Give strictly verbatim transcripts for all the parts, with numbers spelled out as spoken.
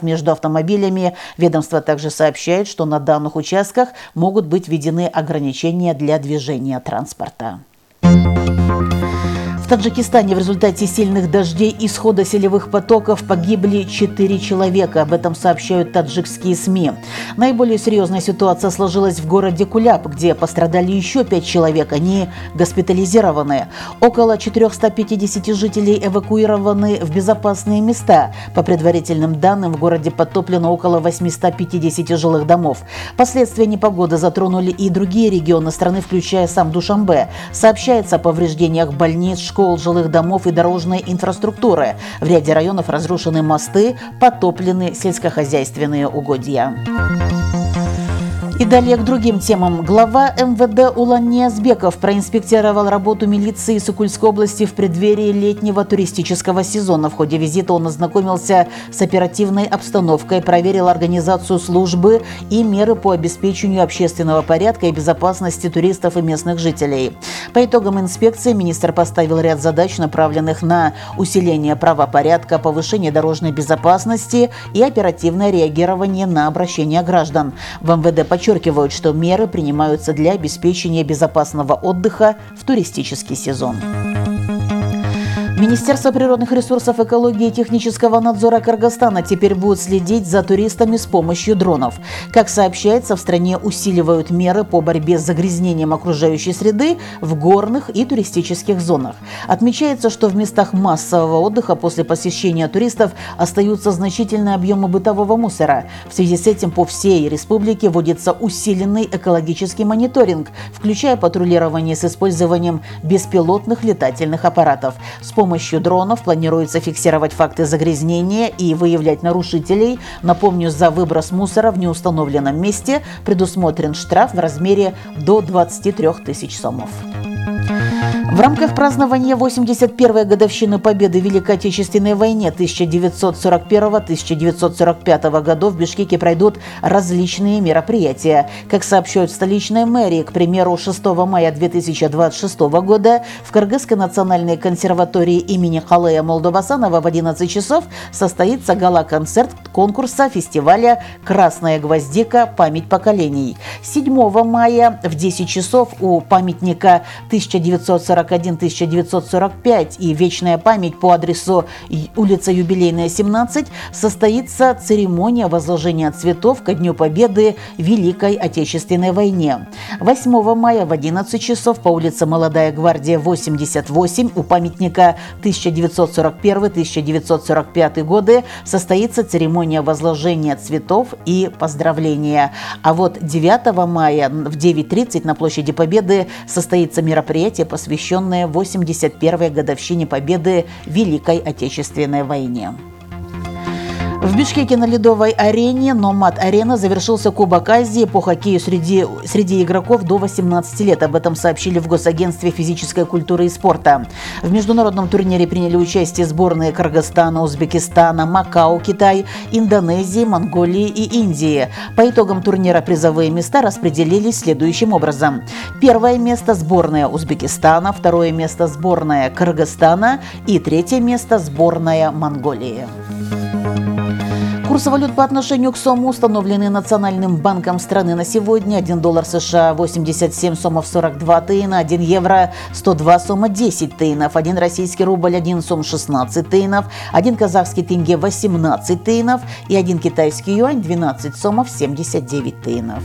между автомобилями. Ведомство также сообщает, что на данных участках могут быть введены ограничения для движения транспорта. В Таджикистане в результате сильных дождей и схода селевых потоков погибли четыре человека. Об этом сообщают таджикские СМИ. Наиболее серьезная ситуация сложилась в городе Куляб, где пострадали еще пять человек. Они госпитализированы. Около четырёхсот пятидесяти жителей эвакуированы в безопасные места. По предварительным данным, в городе подтоплено около восьмисот пятидесяти жилых домов. Последствия непогоды затронули и другие регионы страны, включая сам Душанбе. Сообщается о повреждениях больниц, школ, жилых домов и дорожной инфраструктуры. В ряде районов разрушены мосты, потоплены сельскохозяйственные угодья. И далее к другим темам. Глава эм вэ дэ Улан Ниязбеков проинспектировал работу милиции Сокульской области в преддверии летнего туристического сезона. В ходе визита он ознакомился с оперативной обстановкой, проверил организацию службы и меры по обеспечению общественного порядка и безопасности туристов и местных жителей. По итогам инспекции министр поставил ряд задач, направленных на усиление правопорядка, повышение дорожной безопасности и оперативное реагирование на обращения граждан. В эм вэ дэ подчеркивают, что меры принимаются для обеспечения безопасного отдыха в туристический сезон. Министерство природных ресурсов, экологии и технического надзора Кыргызстана теперь будет следить за туристами с помощью дронов. Как сообщается, в стране усиливают меры по борьбе с загрязнением окружающей среды в горных и туристических зонах. Отмечается, что в местах массового отдыха после посещения туристов остаются значительные объемы бытового мусора. В связи с этим по всей республике вводится усиленный экологический мониторинг, включая патрулирование с использованием беспилотных летательных аппаратов. С помощью С помощью дронов планируется фиксировать факты загрязнения и выявлять нарушителей. Напомню, за выброс мусора в неустановленном месте предусмотрен штраф в размере до двадцати трёх тысяч сомов. В рамках празднования восемьдесят первой годовщины победы в Великой Отечественной войне тысяча девятьсот сорок первого — тысяча девятьсот сорок пятого годов в Бишкеке пройдут различные мероприятия. Как сообщают в столичной мэрии, к примеру, шестого мая две тысячи двадцать шестого года в Кыргызской национальной консерватории имени Калея Молдовасанова в одиннадцать часов состоится гала-концерт конкурса фестиваля «Красная гвоздика. Память поколений». седьмого мая в десять часов у памятника тысяча девятьсот сорок один — тысяча девятьсот сорок пять и «Вечная память» по адресу улица Юбилейная, семнадцать состоится церемония возложения цветов ко Дню Победы в Великой Отечественной войне. восьмого мая в одиннадцать часов по улице Молодая гвардия, восемьдесят восемь у памятника тысяча девятьсот сорок первый — тысяча девятьсот сорок пятый годы состоится церемония возложения цветов и поздравления. А вот девятого мая в девять тридцать на площади Победы состоится мероприятие, посвященное восемьдесят первой годовщине победы в Великой Отечественной войне. В Бишкеке на ледовой арене «Номад-арена» завершился Кубок Азии по хоккею среди, среди игроков до восемнадцати лет. Об этом сообщили в Госагентстве физической культуры и спорта. В международном турнире приняли участие сборные Кыргызстана, Узбекистана, Макао, Китай, Индонезии, Монголии и Индии. По итогам турнира призовые места распределились следующим образом. Первое место – сборная Узбекистана, второе место – сборная Кыргызстана и третье место – сборная Монголии. Курсы валют по отношению к сому, установленные Национальным банком страны на сегодня: один доллар США восемьдесят семь сомов сорок два тыйна, один евро сто два сома десять тыйнов, один российский рубль один сом шестнадцать тыйнов, один казахский тенге восемнадцать тыйнов и один китайский юань двенадцать сомов семьдесят девять тыйнов.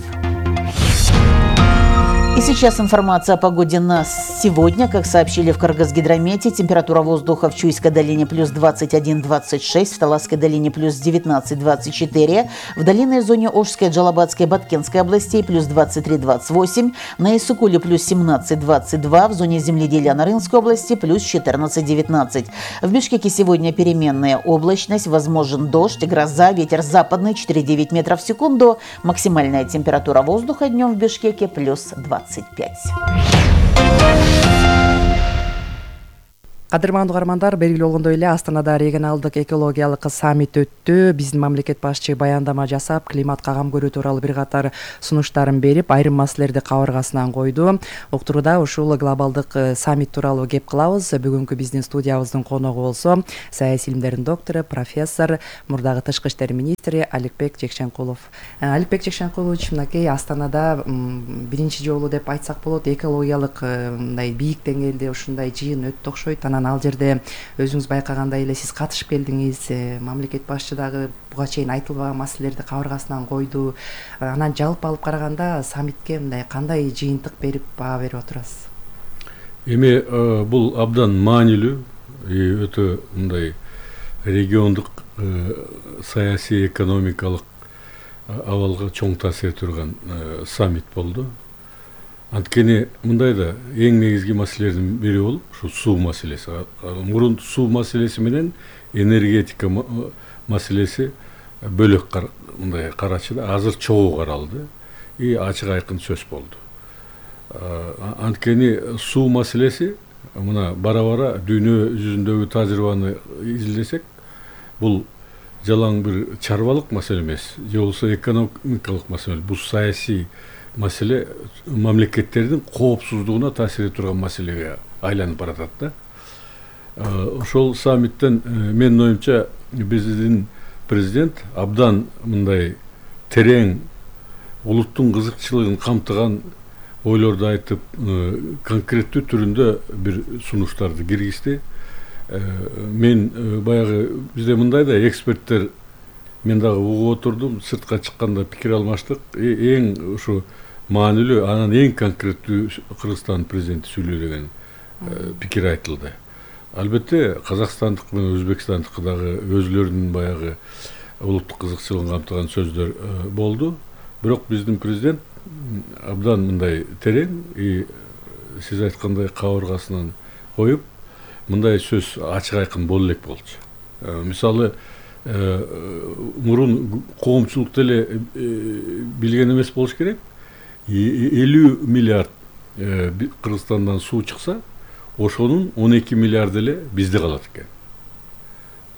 И сейчас информация о погоде на сегодня. Как сообщили в Кыргызгидромете, температура воздуха в Чуйской долине плюс двадцать один — двадцать шесть, в Таласской долине плюс девятнадцать — двадцать четыре, в долинной зоне Ошской, Джалабадской, Баткенской областей плюс двадцать три — двадцать восемь, на Иссыкуле плюс семнадцать — двадцать два, в зоне земледелия Нарынской области плюс четырнадцать — девятнадцать. В Бишкеке сегодня переменная облачность, возможен дождь, гроза, ветер западный четыре — девять метров в секунду, максимальная температура воздуха днем в Бишкеке плюс двадцать пять. Кадырмандуу угармандар, белгилүү болгондой эле Астанада регионалдык экологиялык саммит өттү. Биздин мамлекет башчы баяндама жасап, климатка кам көрүү тууралуу бир катар сунуштарын берип, айрым маселелерди кабыргасынан койду. Уктурууда ушул глобалдык саммит тууралуу кеп кылабыз. Бүгүнкү биздин студиябыздын коногу болсо саясий илимдердин доктору, профессор, мурдагы тышкы иштер министри Аликбек Жекшенкулов. Аликбек Жекшенкулович, мынакей Астанада биринчи жолу деп айтсак болот, экологиялык мындай бийик деңгээлде ушундай жыйын өттү окшойт. Анан ал жерде өзүңүз байкагандай эле сиз катышып келдиңиз. Мамлекет башчы дагы буга чейин айтылбаган маселелерди кабыргасынан койду. Анан жалпы алып караганда саммитке мындай кандай жыйынтык берип баа берип отурасыз? Эми бул абдан маанилүү, өтө мындай региондук саясий экономикалык абалга чоң таасир турган саммит болду. Анткени мындай да эң негизги маселелердин бири болуп ушу суу маселеси. Мурун суу маселеси менен энергетика маселеси бөлөк мындай карачы да, азыр чогуу каралды и ачык айкын сөз болду. Анткени суу маселеси мына бара-бара дүйнө жүзүндөгү тажрыйбаны изилдесек, бул жалаң бир чарбалык маселе эмес, же болбосо экономикалык маселе, бул саясий маселе, мамлекеттердин коопсуздугуна таасир этип турган маселеге айланып баратат да. Ошол саммиттен менин оюмча биздин президент абдан мындай терең, улуттун кызыкчылыгын камтыган ойлорду айтып, конкреттүү түрүндө бир сунуштарды киргизди. Мен баягы бизде мындай да эксперттер, мен дагы угуп отурдум, сыртка чыкканда пикир алмаштык. Эң ушу маанилүү, анан эң конкреттүү Кыргызстан президенти сүйлөө деген пикир айтылды. Албетте Казакстандык менен Өзбекстандык дагы өзүлөрүнүн баягы улуттук кызыкчылыгын камтыган сөздөр болду. Бирок биздин президент абдан мындай терең и сиз айткандай кабыргасынан коюп, мындай сөз ачык айкын боло элек болчу. Мисалы, мурун коомчулук деле билген эмес болуш керек. элүү миллиард Кыргызстандан суу чыкса, ошонун он эки миллиард эле бизде калат экен.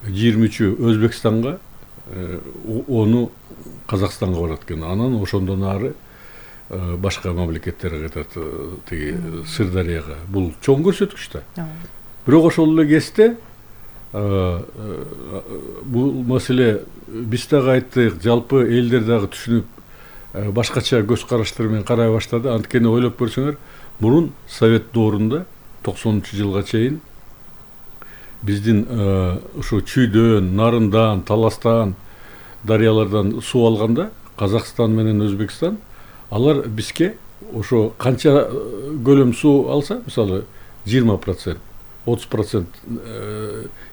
жыйырма үчү Өзбекстанга, ону Казакстанга барат экен. Анан ошондон ары башка мамлекеттерге кетет, тиги Сырдарыяга. Бул чоң көрсөткүч да. Бирок ошол эле кезде бул маселе биз дагы айттык, жалпы элдер дагы түшүнүп, башкача көз караштар менен карай баштады. Анткени ойлоп көрсөңөр, мурун Совет доорунда токсонунчу жылга чейин биздин ушу Чүйдөн, Нарындан, Таластан, дарыялардан суу алганда Казакстан менен Өзбекстан, алар бизге ошо канча көлөм суу алса, мисалы жыйырма процент, отуз процент,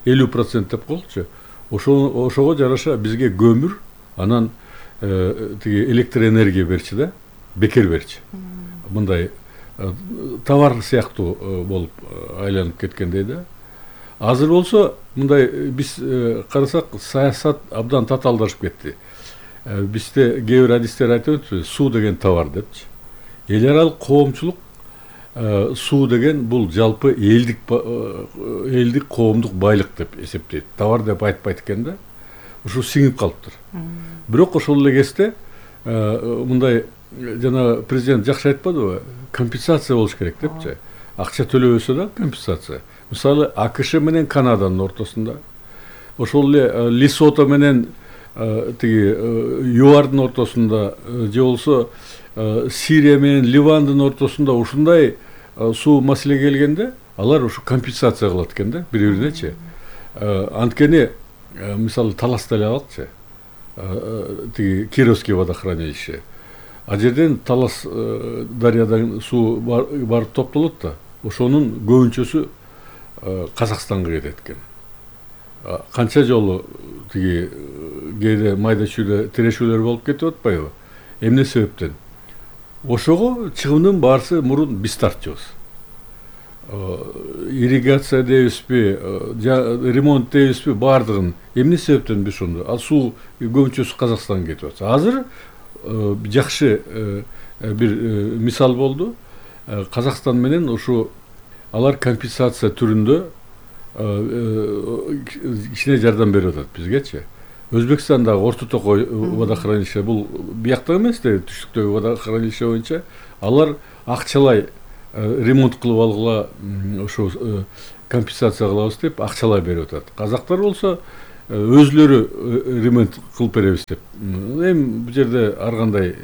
элүү процент деп коелучу. Ошого жараша бизге көмүр, анан тиги электроэнергия берчи да, бекер берчи. Мындай товар сыяктуу болуп айланып кеткендей да. Азыр болсо мындай биз карасак, саясат абдан татаалдашып кетти. Бизде кээ бир адистер айтып өтпү, суу деген товар депчи. Эл аралык коомчулук суу деген бул жалпы элдик элдик коомдук байлык деп эсептейт. Товар деп айтпайт экен да. Ушу сиңип калыптыр. Бирок ошол эле кезде мындай жана президент жакшы айтпадыбы, компенсация болуш керек депчи. Акча төлөбөсө да компенсация. Мисалы АКШ менен Канаданын ортосунда, ошол эле Лесото менен тиги ЮАРдын ортосунда, же болсо Сирия менен Ливандын ортосунда ушундай суу маселе келгенде, алар ушу компенсация кылат экен да, бири-биринечи. Анткени мисалы Таласта эле алчы, тиги Кировский водохранилище. А жерден Талас дарыядан суу барып топтолот да, ошонун көбүнчөсү Казакстанга кетет экен. Канча жолу тиги кээде майда чүйдө тирешүүлөр болуп кетип атпайбы? Эмне себептен? Ошого чыгымдын баарысы мурун биз тартчубуз. Ирригация дейбизби, ремонт дейбизби, баардыгын эмне себептен биз ошондо? Ал суу көбүнчөсү Казакстанга кетип атса. Азыр жакшы бир мисал болду. Казакстан менен ушу алар компенсация түрүндө кичине жардам берип атат бизгечи. Өзбекстандагы Орто Токой водохранилище бул биякта эмес да, түштүктөгү водохранилище боюнча алар акчалай ремонт кылып алгыла, ошо компенсация кылабыз деп акчалай берип атат. Казактар болсо өзлөрү ремонт кылып беребиз деп. Эми бул жерде ар кандай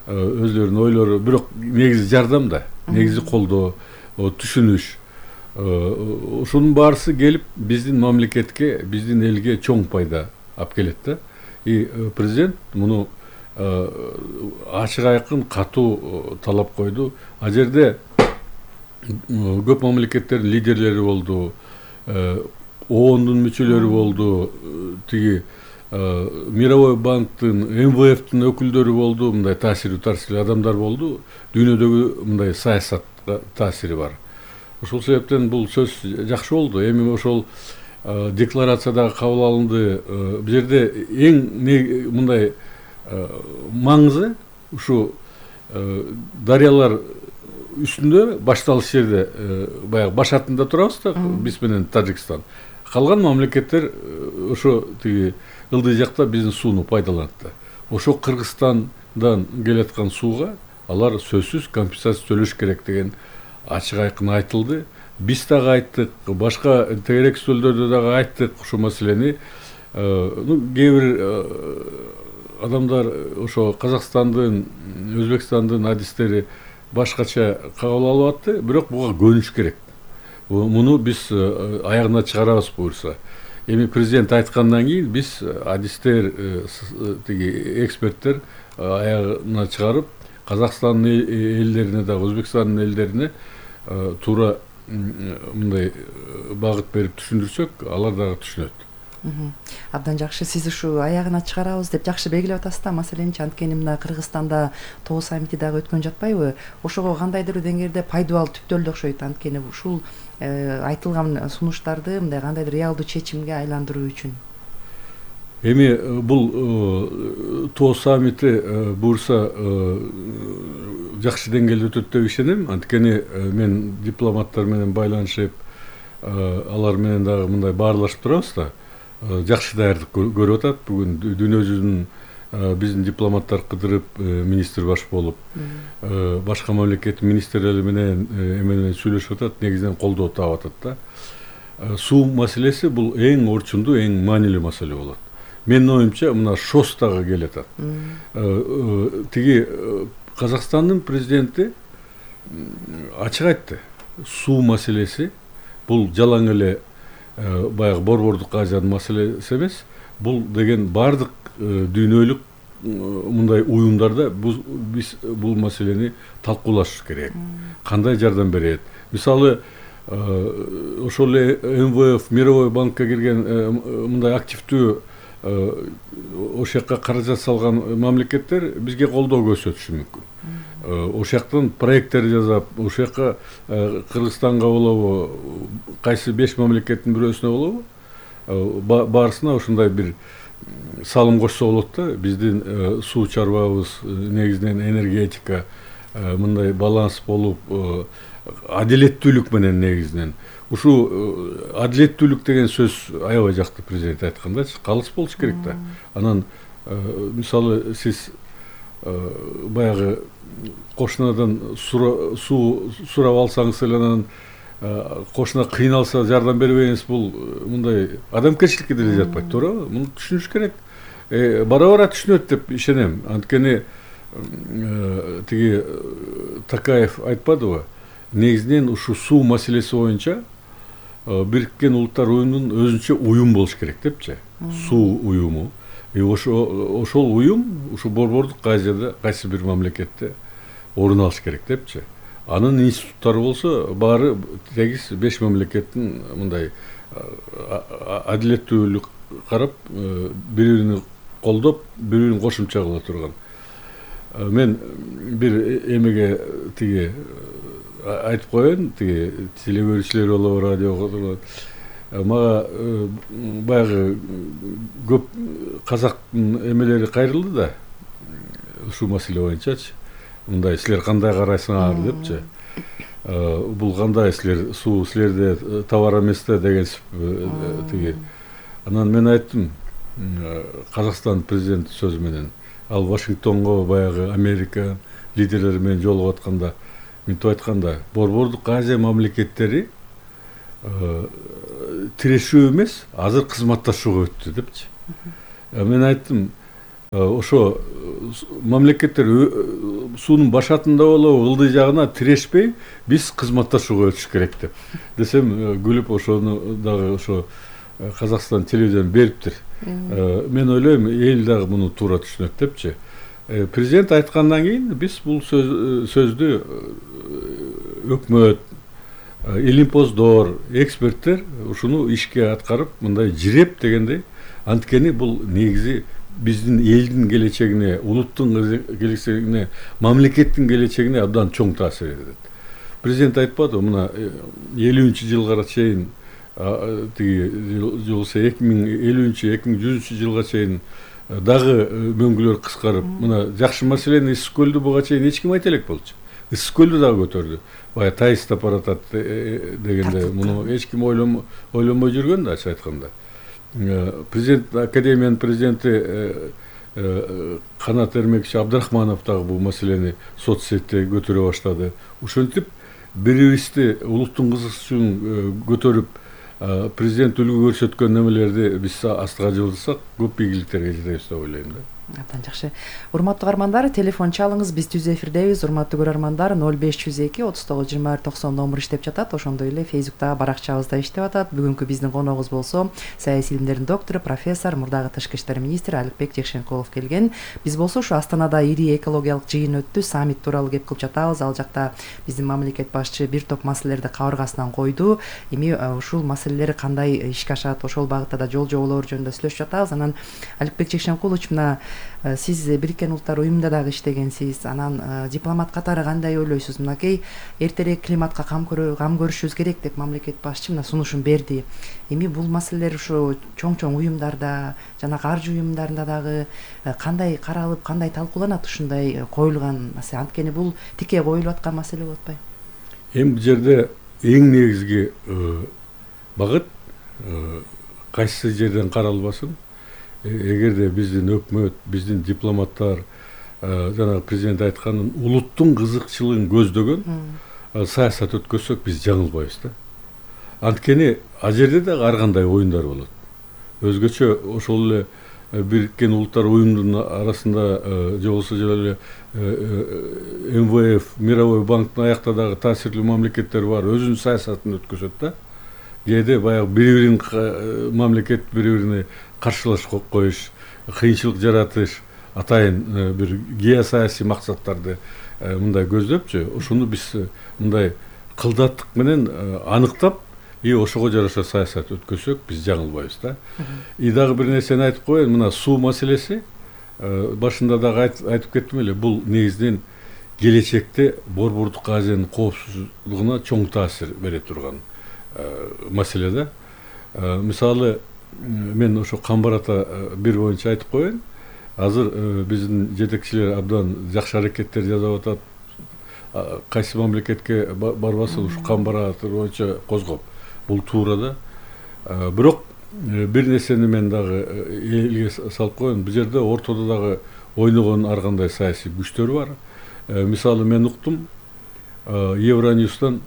өзлөрүнүн ойлору, бирок негизи жардам да, негизи колдоо, түшүнүш. Ошонун баарысы келип биздин мамлекетке, биздин элге чоң пайда алып келет да. И президент муну ачык айкын катуу талап койду. А жерде көп мамлекеттердин лидерлери болду, оондун мүчөлөрү болду, тиги Мировой банктын, эм вэ эфтин өкүлдөрү болду, мындай таасири таасирлүү адамдар болду. Дүйнөдөгү мындай саясатка таасири бар. Ошол себептен бул сөз жакшы болду. Эми ошол декларациядагы кабыл алынды. Бул жерде эң мындай маңызы ушу дарыялар үстүндө башталыш жерде баягы башатында турабыз да, биз менен Тажикстан. Калган мамлекеттер ошо тиги ылдый жакта биздин сууну пайдаланат да. Ошо Кыргызстандан келаткан сууга алар сөзсүз компенсация төлөш керек деген ачык айкын айтылды. Биз дагы айттык, башка тегерек сөөлдөрдө дагы айттык ушул маселени. Ну, кээ бир адамдар ошо Казакстандын, Өзбекстандын адистери башкача кабыл алып атты, бирок буга көнүш керек. Муну биз аягына чыгарабыз буюрса. Эми президент айткандан кийин биз адистер, тиги эксперттер аягына чыгарып, Казакстандын элдерине дагы, Өзбекстандын элдерине туура мындай багыт берип түшүндүрсөк, алар дагы түшүнөт. Абдан жакшы. Сиз ушу аягына чыгарабыз деп жакшы белгилеп атасыз да. Маселенчи анткени мына Кыргызстанда тоо саммити дагы өткөн жатпайбы? Ошого кандайдыр деңгээлде пайдабал түптөлдү окшойт. Анткени ушул айтылган сунуштарды мындай кандайдыр реалдуу чечимге айландыруу үчүн. Эми бул тоо саммити буюрса жакшы деңгээлде өтөт деп ишенем. Анткени мен дипломаттар менен байланышып, алар менен дагы мындай баарлашып турабыз да. Жакшы даярдык көрүп атат. Бүгүн дүйнө жүзүнүн биздин дипломаттар кыдырып, министр баш болуп, башка мамлекеттин министрлери менен эме сүйлөшүп атат, негизинен колдоо таап атат да. Суу маселеси бул эң орчундуу, эң маанилүү маселе болот. Менин оюмча, мына ШОС дагы келатат. Тиги Казакстандын президенти ачык айтты. Суу маселеси бул жалаң эле баягы Борбордук Азиянын маселеси эмес. Бул деген бардык дүйнөлүк мындай уюмдарда биз бул маселени талкуулашыбыз керек. Кандай жардам берет? Мисалы, ошол эле эм вэ эф, Мировой банкка кирген мындай активдүү ошол жакка каражат салган мамлекеттер бизге колдоо көрсөтүшү мүмкүн. Ошол жактан проекттер жасап, ошол жакка Кыргызстанга болобу, кайсы беш мамлекеттин бирөөсүнө болобу, баарысына ушундай бир салым кошсо болот да. Биздин суу чарбабыз негизинен энергетика мындай баланс болуп, адилеттүүлүк менен негизинен. Ушул адилеттүүлүк деген сөз аябай жакты президент айткандачы, калыс болуш керек да. Анан мисалы сиз баягы кошунадан суу сурап алсаңыз эле, анан кошуна кыйналса жардам бербейсиз, бул мындай адамгерчиликке деле жатпайт, туурабы? Муну түшүнүш керек. Бара бара түшүнөт деп ишенем. Анткени тиги Такаев айтпадыбы? Негизинен ушу суу маселеси боюнча Бириккен Улуттар уюмунун өзүнчө уюм болуш керек депчи. Суу уюму. И ошол уюм ушу Борбордук Азияда кайсы бир мамлекетте орун алыш керек депчи. Анын институттары болсо баары сегиз беш мамлекеттин мындай адилеттүүлүк карап, бири-бирин колдоп, бири-бирин кошумча кыла турган. Мен бир эмеге тиги айтып коеюн, тиги теле көрүүчүлөр болобу, радиого мага баягы көп казактын эмелери кайрылды да, ушул маселе боюнчачы. Мындай силер кандай карайсыңар депчи. бул кандай силер суу силерде товар эмес да деген тиги. Анан мен айттым, Казакстан президенти сөзү менен ал Вашингтонго баягы Америка лидерлери менен жолугуп атканда мынтип айтканда, Борбордук Азия мамлекеттери тирешүү эмес, азыр кызматташууга өттү депчи. Мен айттым, ошо мамлекеттер суунун башатында болобу, ылдый жагына тирешпей, биз кызматташууга өтүш керек деп. Десем, күлүп ошону дагы ошо Казакстан телевизион бериптир. Мен ойлойм, эл дагы муну туура түшүнөт депчи. Президент айткандан кийин биз бул сөздү өкмөт, илимпоздор, эксперттер ушуну ишке аткарып, мындай жиреп дегендей, анткени бул негизи биздин элдин келечегине, улуттун келечегине, мамлекеттин келечегине абдан чоң таасир этет. Президент айтпады, мына элүүнчү жылга чейин тиги жолсо эки миң элүүнчү эки миң жүзүнчү жылга чейин дагы мөңгүлөр кыскарып, мына жакшы маселени Ысык көлдү буга чейин эч ким айта элек болчу. Ысык көлдү дагы көтөрдү. Бая таистап баратат дегенде муну эч ким ойлонбой жүргөн да, ачык айтканда. Президент Академиянын президенти Канат Эрмекчи Абдрахманов дагы бул маселени соцсетте көтөрө баштады. Ошентип бирибизди улуттун кызыкчылыгын көтөрүп, президент үлгү көрсөткөн немелерди биз астыга жылжытсак, көп ийгиликтерге жетебиз деп ойлойм да. Абдан жакшы. Урматтуу каармандар, телефон чалыңыз, биз түз эфирдебиз. Урматтуу көрөрмандар, ноль беш жүз эки отуз тогуз жыйырма бир токсон номер иштеп жатат. Ошондой эле Facebook'та баракчабыз да иштеп атат. Бүгүнкү биздин коногубуз болсо, саясий илимдердин доктору, профессор, мурдагы тышкы иштер министри Аликбек Жекшенкулов келген. Биз болсо ушу Астанада ири экологиялык жыйын өттү, саммит тууралуу кеп кылып жатабыз. Ал жакта биздин мамлекет башчы бир топ маселелерди кабыргасынан койду. Эми ушул маселелер кандай ишке ашат, ошол багытта да жол жоболор жөнүндө сүйлөшүп жатабыз. Анан Аликбек Жекшенкулович, мына сиз Бириккен Улуттар уюмунда дагы иштегенсиз. Анан дипломат катары кандай ойлойсуз? Мынакей эртерээк климатка кам көрүшүбүз керек деп мамлекет башчы мына сунушун берди. Эми бул маселелер ушу чоң-чоң уюмдарда жана каржы уюмдарында дагы кандай каралып, кандай талкууланат ушундай коюлган маселе? Анткени бул тике коюлуп аткан маселе болуп атпайбы? Эми бул жерде эң негизги багыт кайсы жерден каралбасын, эгерде биздин өкмөт, биздин дипломаттар жана президент айткан улуттун кызыкчылыгын көздөгөн саясат өткөзсөк, биз жаңылбайбыз да. Анткени ал жерде дагы ар кандай оюндар болот. Өзгөчө ошол эле Бириккен Улуттар уюмунун арасында же болбосо эле эм вэ эф, Мировой банктын аякта дагы таасирлүү мамлекеттер бар, өзүнүн саясатын өткөзөт да. Кээде баягы бири-бирин мамлекет бири-бирине каршылаш коюш, кыйынчылык жаратыш, атайын бир геосаясий максаттарды мындай көздөпчү, ошону биз мындай кылдаттык менен аныктап, и ошого жараша саясат өткөзсөк, биз жаңылбайбыз да. И дагы бир нерсени айтып коеюн, мына суу маселеси, башында дагы айтып кеттим эле, бул негизинен келечекте Борбордук Азиянын коопсуздугуна чоң таасир бере турган маселе да. Мисалы, мен ошо Камбарата бир боюнча айтып коеюн. Азыр биздин жетекчилер абдан жакшы аракеттер жасап атат. Кайсы мамлекетке барбасын ушу Камбарата боюнча козгоп, бул туура да. Бирок бир нерсени мен дагы элге салып коеюн. Бул жерде ортодо дагы ойногон ар кандай саясий күчтөр бар. Мисалы, мен уктум, Евроньюстан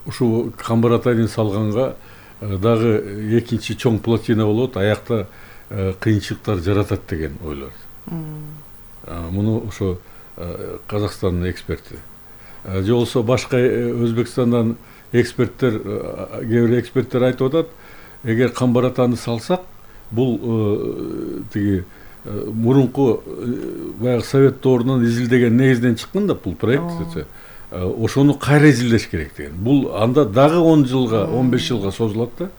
ушу Камбаратаны салганга дагы экинчи чоң плотина болот, аякта кыйынчылыктар жаратат деген ойлор. Муну ошо Казакстандын эксперти. Же болсо башка Өзбекстандан эксперттер, кээ бир эксперттер айтып атат, эгер Камбаратаны салсак, бул тиги мурунку баягы Совет доорунан изилдеген негизден чыккан да бул проект. Ошону кайра изилдеш керек деген. Бул анда дагы он жылга, он беш жылга созулат да.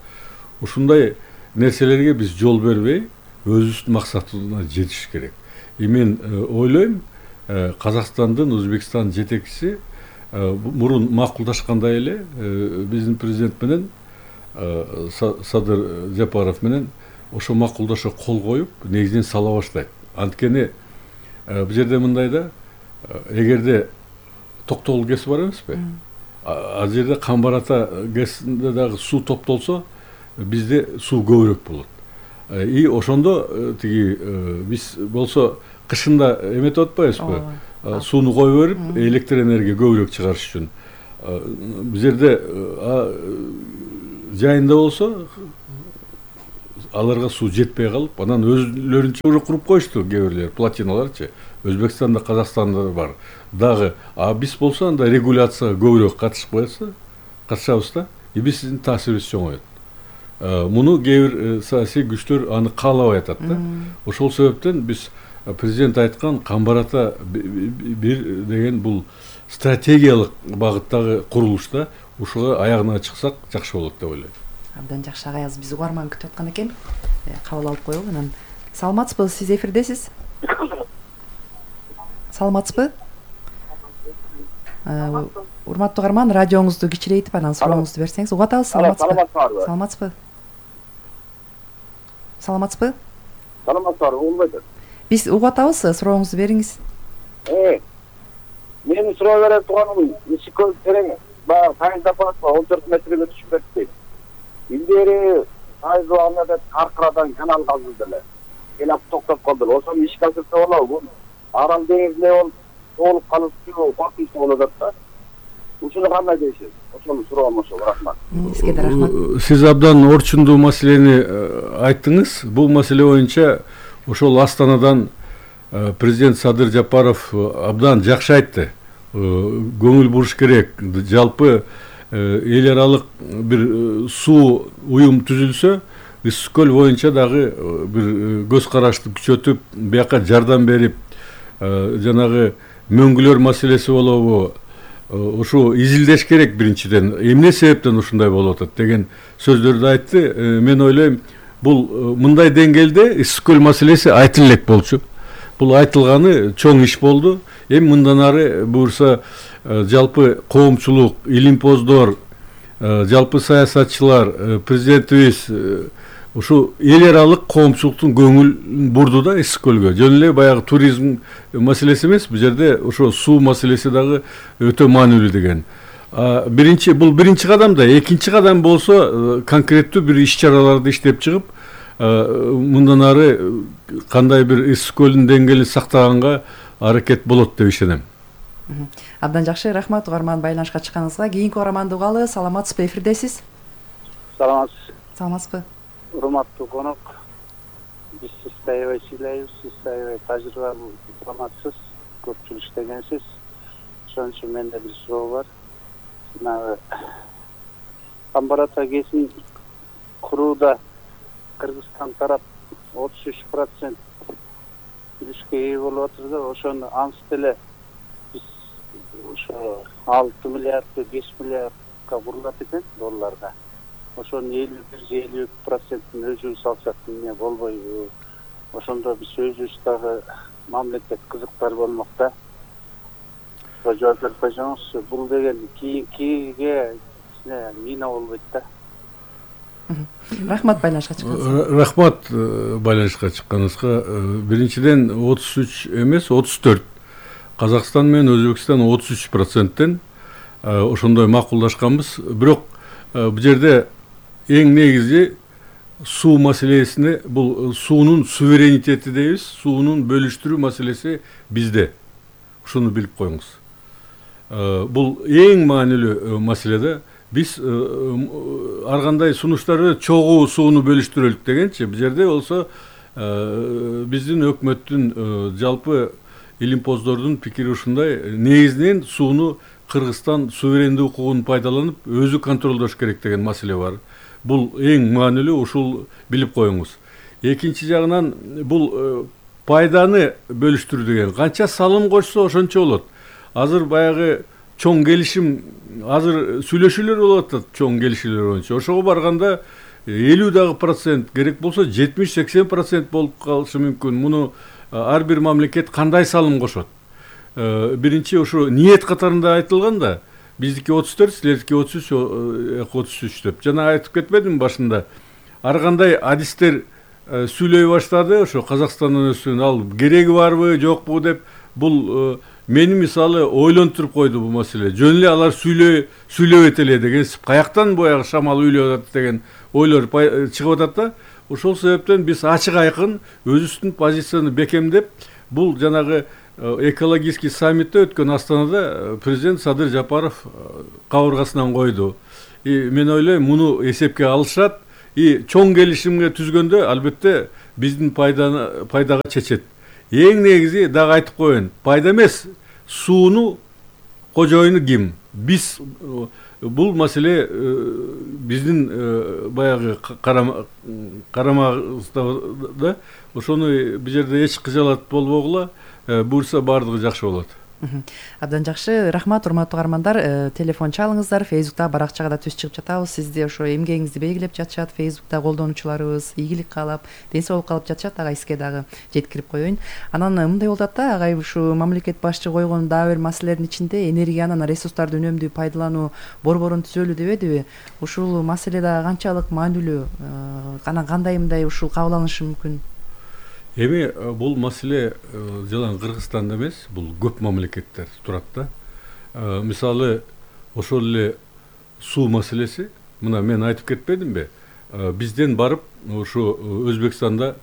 Ушундай нерселерге биз жол бербей, өзүбүздүн максатыбызга жетиш керек. И мен ойлойм, Казакстандын, Өзбекстандын жетекчиси мурун макулдашкандай эле биздин президент менен Садыр Жапаров менен ошо макулдашуу кол коюп, негизинен сала баштайт. Анткени бул жерде мындай да, эгерде токтогул гэс бар эмеспи? Ал жерде Камбар-Ата гэсинде дагы суу топтолсо бизде суу көбүрөөк болот. И ошондо тиги биз болсо кышында эметип атпайбызбы? Сууну коюп берип, электр энергия көбүрөөк чыгарыш үчүн. Бул жерде жайында болсо аларга суу жетпей калып, анан өзлөрүнчө уже куруп коюшту кээ бирлер, плотиналарчы. Өзбекстанда, Казакстанда бар. Дагы, а биз болсо анда регуляцияга көбүрөөк катышып коёбуз, катышабыз да, и биздин таасирибиз чоңойот. Муну кээ бир саясий күчтөр аны каалабай атат да. Ошол себептен биз президент айткан Камбар-Ата бир деген бул стратегиялык багыттагы курулуш да, ушуга аягына чыксак жакшы болот деп ойлойм. Абдан жакшы, агайыз биз угарман күтүп аткан экен. Кабыл алып коелу. Анан саламатсызбы, сиз эфирдесиз? Саламатсызбы? Урматтуу угарман, радиоңузду кичирейтип анан сурооңузду берсеңиз. Угатабыз, саламатсызбы? Саламатсызбы? Саламатсызбы? Саламатсызбы, угулбайт. Биз угатабыз, сурооңузду бериңиз. Э. Мен суроо бере турганым, ишикөл терең, баягы Сайын Сапаров он төрт метрге түшүп кетти. Илдери Айзы Ахмедов Каркырадан канал казды эле. Келип токтоп калды. Ошону ишке ашырса болобу? Арал деңизинде ол толуп калыштуу, коркунучтуу болуп атат да. Ушуну кандай дейсиз? Ошону суроом ошол, рахмат. Сизге да рахмат. Сиз абдан орчундуу маселени айттыңыз. Бул маселе боюнча ошол Астанадан президент Садыр Жапаров абдан жакшы айтты. Көңүл буруш керек. Жалпы эл аралык бир суу уюм түзүлсө, Ысык көл боюнча дагы бир көз карашты күчөтүп, бияка жардам берип, жанагы мөңгүлөр маселеси болобу, ушу изилдеш керек биринчиден. Эмне себептен ушундай болуп атат деген сөздөрдү айтты. Мен ойлойм, бул мындай деңгээлде Ысык көл маселеси айтылып элек болчу. Бул айтылганы чоң иш болду. Эми мындан ары буюрса жалпы коомчулук, илимпоздор, жалпы саясатчылар, президентибиз ушу эл аралык коомчулуктун көңүлүн бурду да Ысык көлгө. Жөн эле баягы туризм маселеси эмес, бул жерде ошо суу маселеси дагы өтө маанилүү деген. Биринчи бул биринчи кадам да, экинчи кадам болсо конкреттүү бир иш-чараларды иштеп чыгып, мындан ары кандай бир Ысык көлдүн деңгээлин сактаганга аракет болот деп ишенем. Абдан жакшы, рахмат угарман байланышка чыкканыңызга. Кийинки угарманды угалы. Саламатсызбы, эфирдесиз? Саламатсыз. Саламатсызбы? Урматтуу конок, биз сизди аябай сыйлайбыз, сиз аябай тажрыйбалуу дипломатсыз, көпчүлүк иштегенсиз. Ошон үчүн менде бир суроо бар. Жанагы Камбар-Ата гэсин курууда Кыргызстан тарап отуз үч процент үлүшкө ээ болуп атыр да, ошону анс деле биз ошо алты миллиард, беш миллиардка курулат экен долларда. Ошонун элүү бир же элүү эки процентин өзүбүз алсак эмне болбойбу? Ошондо биз өзүбүз дагы мамлекет кызыктар болмок да. Жооп берип койсоңуз, бул деген кийинкиге мина болбойт да. Рахмат байланышка чыкканыңызга. Рахмат байланышка чыкканыңызга. Биринчиден отуз үч эмес, отуз төрт. Казакстан менен Өзбекстан отуз үч проценттен ошондой макулдашканбыз. Бирок бул жерде эң негизи суу маселесине, бул суунун суверенитети дейбиз, суунун бөлүштүрүү маселеси бизде. Ушуну билип коюңуз. Бул эң маанилүү маселе да. Биз ар кандай сунуштар чогуу сууну бөлүштүрөлүк дегенчи, бул жерде болсо биздин өкмөттүн жалпы илимпоздордун пикири ушундай: негизинен сууну Кыргызстан суверендүү укугун пайдаланып өзү контролдош керек деген маселе бар. Бул эң маанилүү, ушул билип коюңуз. Экинчи жагынан бул пайданы бөлүштүрүү деген канча салым кошсо ошончо болот. Азыр баягы чоң келишим, азыр сүйлөшүүлөр болуп атат чоң келишүүлөр боюнча. Ошого барганда элүү дагы процент, керек болсо жетимиш сексен процент болуп калышы мүмкүн. Муну ар бир мамлекет кандай салым кошот? Биринчи ушу ниет катарында айтылган да, биздики отуз төрт, силердики отуз үч, отуз үч деп. Жана айтып кетпедимби башында? Ар кандай адистер сүйлөй баштады, ошо Казакстандын өсүн ал кереги барбы, жокпу деп. Бул мени мисалы ойлонтуруп койду бул маселе. Жөн эле алар сүйлөй сүйлөбөйт эле деген, каяктан боягы шамал үйлөп атат деген ойлор чыгып атат да. Ошол себептен биз ачык айкын өзүбүздүн позицияны бекемдеп, бул жанагы экологический саммитте өткөн Астанада президент Садыр Жапаров кабыргасынан койду. И мен ойлойм, муну эсепке алышат и чоң келишимге түзгөндө албетте биздин пайданы пайдага чечет. Эң негизи дагы айтып коеюн, пайда эмес, сууну кожоюну ким? Биз бул маселе биздин баягы карамагыбызда, ошону бул жерде эч кыжаалат болбогула, буюрса баардыгы жакшы болот. Абдан жакшы, рахмат урматтуу каармандар. Телефон чалыңыздар, Фейсбукта баракчага да түз чыгып жатабыз. Сизди ошо эмгегиңизди белгилеп жатышат, Фейсбукта колдонуучуларыбыз ийгилик каалап, ден соолук каалап жатышат. Ага сизге дагы жеткирип коеюн. Анан мындай болуп атат да, агай ушу мамлекет башчы койгон дагы бир маселелердин ичинде энергияны, ресурстарды үнөмдүү пайдалануу борборун түзөлү дебедиби? Ушул маселе да канчалык маанилүү? Анан кандай мындай ушул кабыл алынышы мүмкүн? Эми бул маселе жалаң Кыргызстанда эмес, бул көп мамлекеттер турат да. Мисалы, ошол эле суу маселеси, мына мен айтып кетпедимби? Бизден барып ошо Өзбекстанда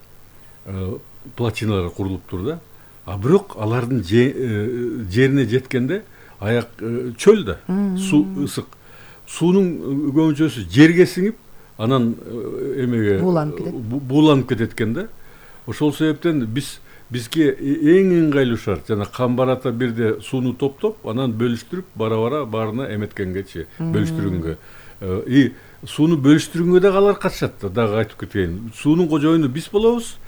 плотиналар курулуптур да. А бирок алардын жерине жеткенде аяк чөл да, суу ысык. Суунун көбүнчөсү жерге сиңип, анан эмеге бууланып кетет. Бууланып кетет экен да. Ошол себептен биз бизге эң ыңгайлуу шарт жана камбарата бирде сууну топтоп, анан бөлүштүрүп, бара-бара баарына эметкенгечи, бөлүштүргөнгө. И сууну бөлүштүргөнгө дагы алар катышат да, дагы айтып кетейин. Суунун кожоюну биз болобуз.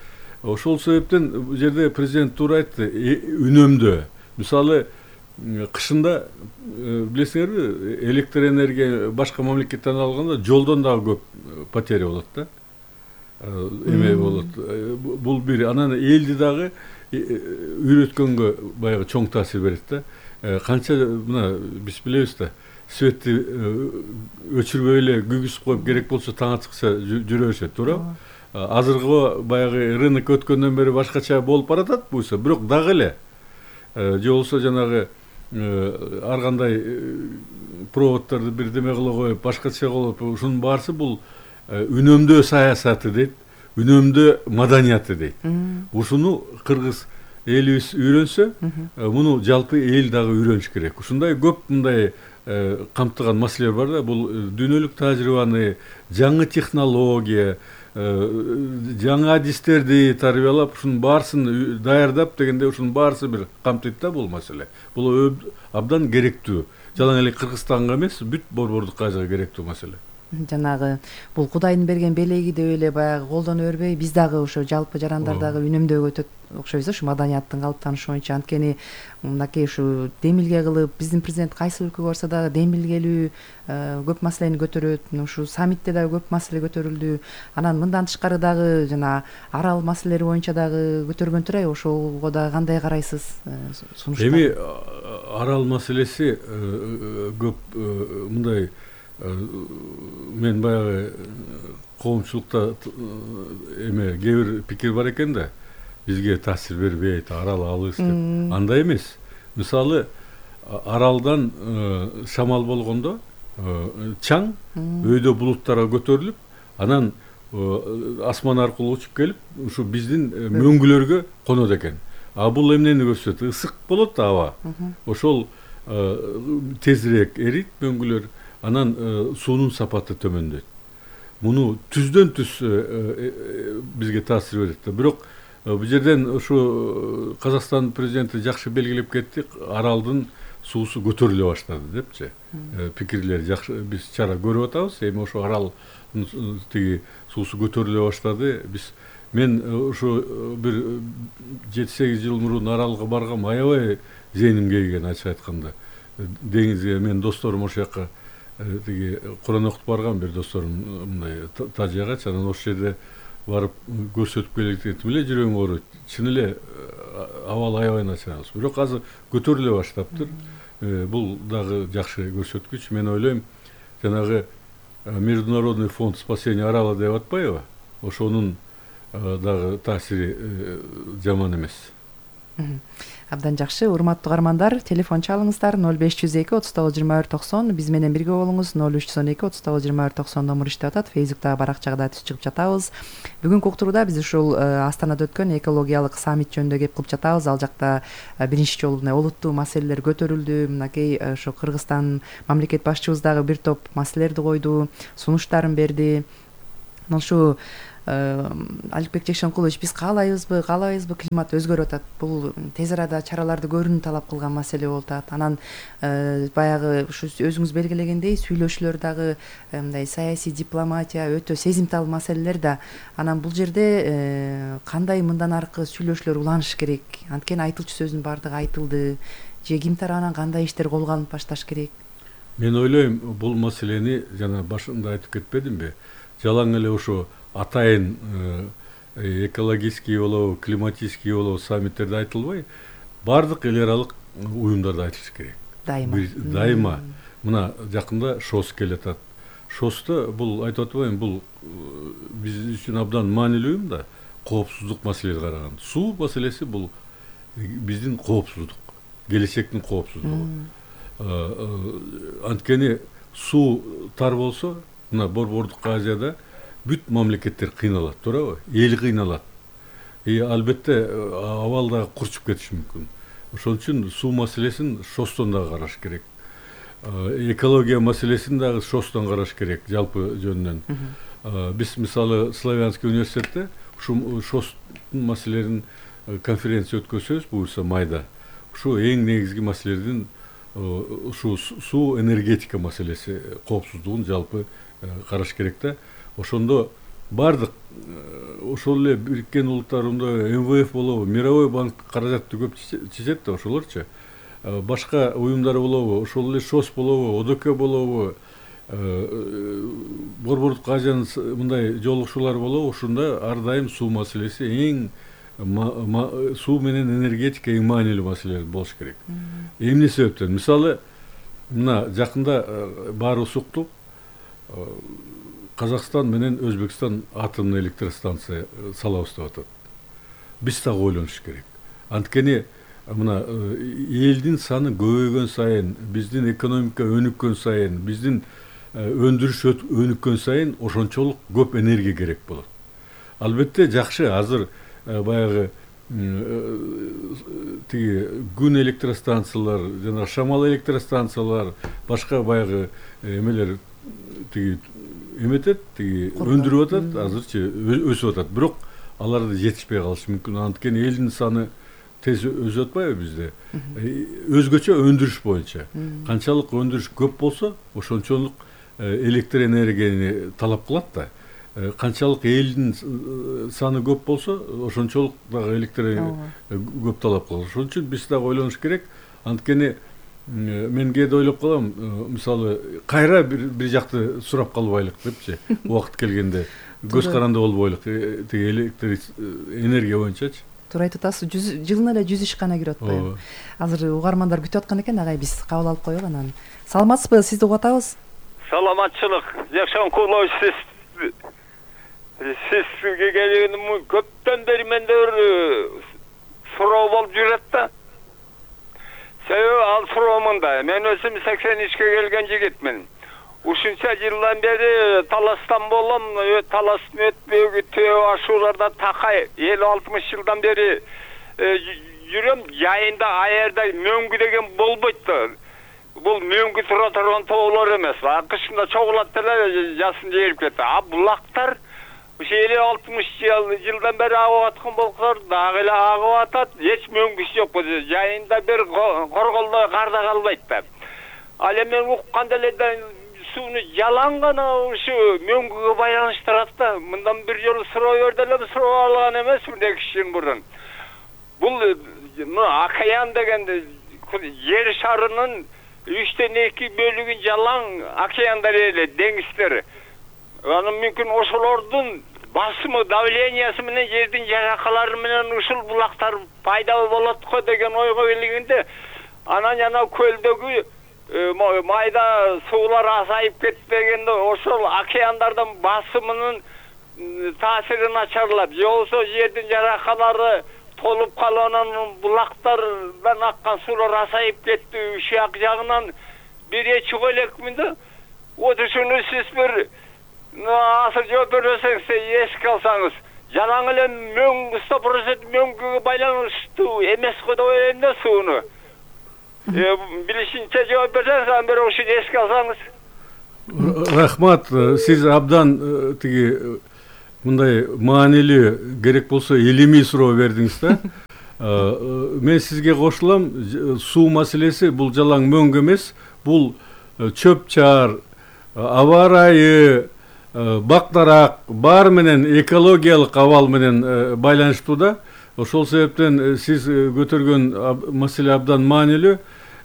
Ошол себептен бул жерде президент туура айтты, үнөмдөө. Мисалы, кышында билесиңерби, электр энергия башка мамлекеттен алганда жолдон дагы көп потеря болот да. Эме болот. Бул бир, анан элди дагы үйрөткөнгө баягы чоң таасир берет да. Канча мына биз билебиз да, светти өчүрбөй эле күгүзүп коюп керек болсо таң атыкча жүрө беришет, туурабы? Азыркы баягы рынок өткөндөн бери башкача болуп баратат буюрса, бирок дагы эле же болсо жанагы ар кандай проводдорду бирдеме кыла коюп, башкача кылып, ушунун баарысы бул үнөмдөө саясаты дейт, үнөмдөө маданияты дейт. Ушуну кыргыз элибиз үйрөнсө, муну жалпы эл дагы үйрөнүш керек. Ушундай көп мындай камтыган маселелер бар да, бул дүйнөлүк тажрыйбаны, жаңы технология, жаңы адистерди тарбиялап, ушунун баарысын даярдап дегенде, ушунун баарысы бир камтыйт да бул маселе. Бул абдан керектүү. Жалаң эле Кыргызстанга эмес, бүт борбордук кажыга керектүү маселе. Жанагы бул Кудайдын берген белеги деп эле баягы колдоно бербей, биз дагы ошо жалпы жарандар дагы үнөмдөөгө өтөт окшойбуз, ушу маданияттын калыптанышы боюнча. Анткени мынакей ушу демилге кылып, биздин президент кайсы өлкөгө барса дагы демилгелүү көп маселени көтөрөт. Ушу саммитте дагы көп маселе көтөрүлдү. Анан мындан тышкары дагы жана арал маселелери боюнча дагы көтөргөн турай. Ошого дагы кандай карайсыз? Эми арал маселеси көп мындай, мен баягы коомчулукта эме кээ бир пикир бар экен да, бизге таасир бербейт, арал алыс деп. Андай эмес. Мисалы, аралдан шамал болгондо чаң өйдө булуттарга көтөрүлүп, анан асман аркылуу учуп келип, ушу биздин мөңгүлөргө конот экен. А бул эмнени көрсөтөт? Ысык болот аба. Ошол тезирээк эрийт мөңгүлөр. Анан суунун сапаты төмөндөйт. Муну түздөн түз бизге таасир берет да. Бирок бул жерден ушу Казакстан президенти жакшы белгилеп кетти, аралдын суусу көтөрүлө баштады депчи. Пикирлер жакшы, биз чара көрүп атабыз. Эми ошо арал тиги суусу көтөрүлө баштады. Биз мен ушу бир жети сегиз жыл мурун аралга баргам, аябай зээним кейген, ачык айтканда. Деңизге мен досторум ошол жака тиги Куран окуп барган бир досторум мындай Тажияга, анан ошол жерде барып көрсөтүп келетим эле жүрөгүм ооруйт. Чын эле абал аябай начар. Бирок азыр көтөрүлө баштаптыр. Бул дагы жакшы көрсөткүч. Мен ойлойм, жанагы Международный фонд спасения арала деп атпайбы? Ошонун дагы таасири жаман эмес. Абдан жакшы. Урматтуу угармандар, телефон чалыңыздар ноль беш жүз эки отуз тогуз жыйырма бир токсон. Биз менен бирге болуңуз. ноль үч жүз он эки отуз тогуз жыйырма бир токсон номер иштеп атат. Фейсбуктагы баракчага да түз чыгып жатабыз. Бүгүнкү уктуруда биз ушул Астанада өткөн экологиялык саммит жөнүндө кеп кылып жатабыз. Ал жакта биринчи жолу мына олуттуу маселелер көтөрүлдү. Мынакей ошо Кыргызстан мамлекет башчыбыз дагы бир топ маселелерди койду, сунуштарын берди. Ошо Аликбек Жекшенкулович, биз каалайбызбы, каалабайбызбы климат өзгөрүп атат. Бул тез арада чараларды көрүүнү талап кылган маселе болуп атат. Анан баягы ушу өзүңүз белгилегендей сүйлөшүүлөр дагы мындай саясий дипломатия өтө сезимтал маселелер да. Анан бул жерде кандай мындан аркы сүйлөшүүлөр уланыш керек? Анткени айтылчу сөздүн баардыгы айтылды. Же ким тарабынан кандай иштер колго алынып башташ керек? Мен ойлойм, бул маселени жана башында айтып кетпедимби? Жалаң эле ошо атайын экологический болобу, климатический болобу саммиттерде айтылбай, баардык эл аралык уюмдарда айтылыш керек. Дайыма. Дайыма. Мына жакында ШОС келатат. ШОСто бул айтып атпайбы, бул биз үчүн абдан маанилүү уюм да, коопсуздук маселеси караган. Суу маселеси бул биздин коопсуздук, келечектин коопсуздугу. Анткени суу тар болсо, мына Борбордук Азияда бүт мамлекеттер кыйналат, туурабы? Эл кыйналат. И албетте абал дагы курчуп кетиши мүмкүн. Ошон үчүн суу маселесин ШОСтон дагы караш керек. Экология маселесин дагы ШОСтон караш керек, жалпы жөнүнөн. Биз мисалы Славянский университетте ушу ШОСтун маселелерин конференция өткөзөбүз буюрса майда. Ушу эң негизги маселелердин ушу суу энергетика маселеси коопсуздугун жалпы караш керек да. Ошондо бардык ошол эле Бириккен Улуттар Уюмунда эм вэ эф болобу, Мировой банк каражатты көп чечет да, ошолорчу. Башка уюмдар болобу, ошол эле ШОС болобу, О Д К болобу, Борбордук Азиянын мындай жолугушуулары болобу, ошондо ар дайым суу маселеси эң суу менен энергетика эң маанилүү маселелер болуш керек. Эмне себептен? Мисалы, мына жакында баарыбыз уктук, Казакстан менен Өзбекстан атомдук электростанция салабыз деп атат. Биз дагы ойлонуш керек. Анткени мына элдин саны көбөйгөн сайын, биздин экономика өнүккөн сайын, биздин өндүрүш өнүккөн сайын ошончолук көп энергия керек болот. Албетте жакшы, азыр баягы тиги күн электростанциялар, жана шамал электростанциялар, башка баягы эмелер тиги эметет, тиги өндүрүп атат, азырчы өсүп атат. Бирок алар жетишпей калышы мүмкүн. Анткени элдин саны тез өсүп атпайбы бизде? Өзгөчө өндүрүш боюнча. Канчалык өндүрүш көп болсо, ошончолук электр энергияны талап кылат да. Канчалык элдин саны көп болсо, ошончолук дагы электр көп талап кылат. Ошон үчүн биз дагы ойлонуш керек. Анткени мен кээде ойлоп калам, мисалы, кайра бир жакты сурап калбайлык депчи, убакыт келгенде көз каранды болбойлук, тиги электр энергия боюнчачы. Туура айтып атасыз, жылына эле жүз ишкана кирип атпайбы? Азыр угармандар күтүп аткан экен, агай биз кабыл алып коелу анан. Саламатсызбы? Сизди угуп атабыз. Саламатчылык. Жекшенкулович, сиз сизге келгеним көптөн бери менде бир суроо болуп жүрөт да. Себеби ал суроо мындай. Мен өзүм сексен үчкө келген жигитмин. Ушунча жылдан бери таластан болом, таластын өтпөгү төө ашууларда такай элүү алтымыш жылдан бери жүрөм. Жайында аярда мөңгү деген болбойт да. Бул мөңгү тура турган тоолор эмес. Кышында чогулат деле жасын жээрип кетти. А булактар ушу элүү алтымыш жылдан бери агып аткан болсор дагы эле агып атат. Эч мөңгүсү жок. Жайында бир корголдой карда калбайт да. Ал эми укканда эле сууну жалаң гана ушу мөңгүгө байланыштырат да. Мындан бир жолу суроо берди эле, суроо алган эмесмин эки жыл мурун. Бул океан дегенде жер шарынын үчтөн эки бөлүгүн жалаң океандар эле, деңиздер. Анан мүмкүн ошолордун басымы, давлениясы менен жердин жаракалары менен ушул булактар пайда болот го деген ойго келгенде, анан жана көлдөгү майда суулар азайып кетпегенде ошол океандардын басымынын таасири начарлап, же болбосо жердин жаракалары толуп калып анан булактардан аккан суулар азайып кетти. Ушак жагынан бир эчи коелекмин да. Вот ушуну сиз бир азыр жооп берсеңиз, эске алсаңыз, жалаң эле мөң сто процент мөңгүгө байланыштуу эмес го деп ойлойм да сууну. Билишинче жооп берсеңиз, анан бирок ушуну эске алсаңыз. Рахмат, сиз абдан тиги мындай маанилүү керек болсо илимий суроо бердиңиз да. Мен сизге кошулам, суу маселеси бул жалаң мөңгү эмес, бул чөп чаар, аба ырайы, бак дарак баары менен экологиялык абал менен байланыштуу да. Ошол себептен сиз көтөргөн маселе абдан маанилүү.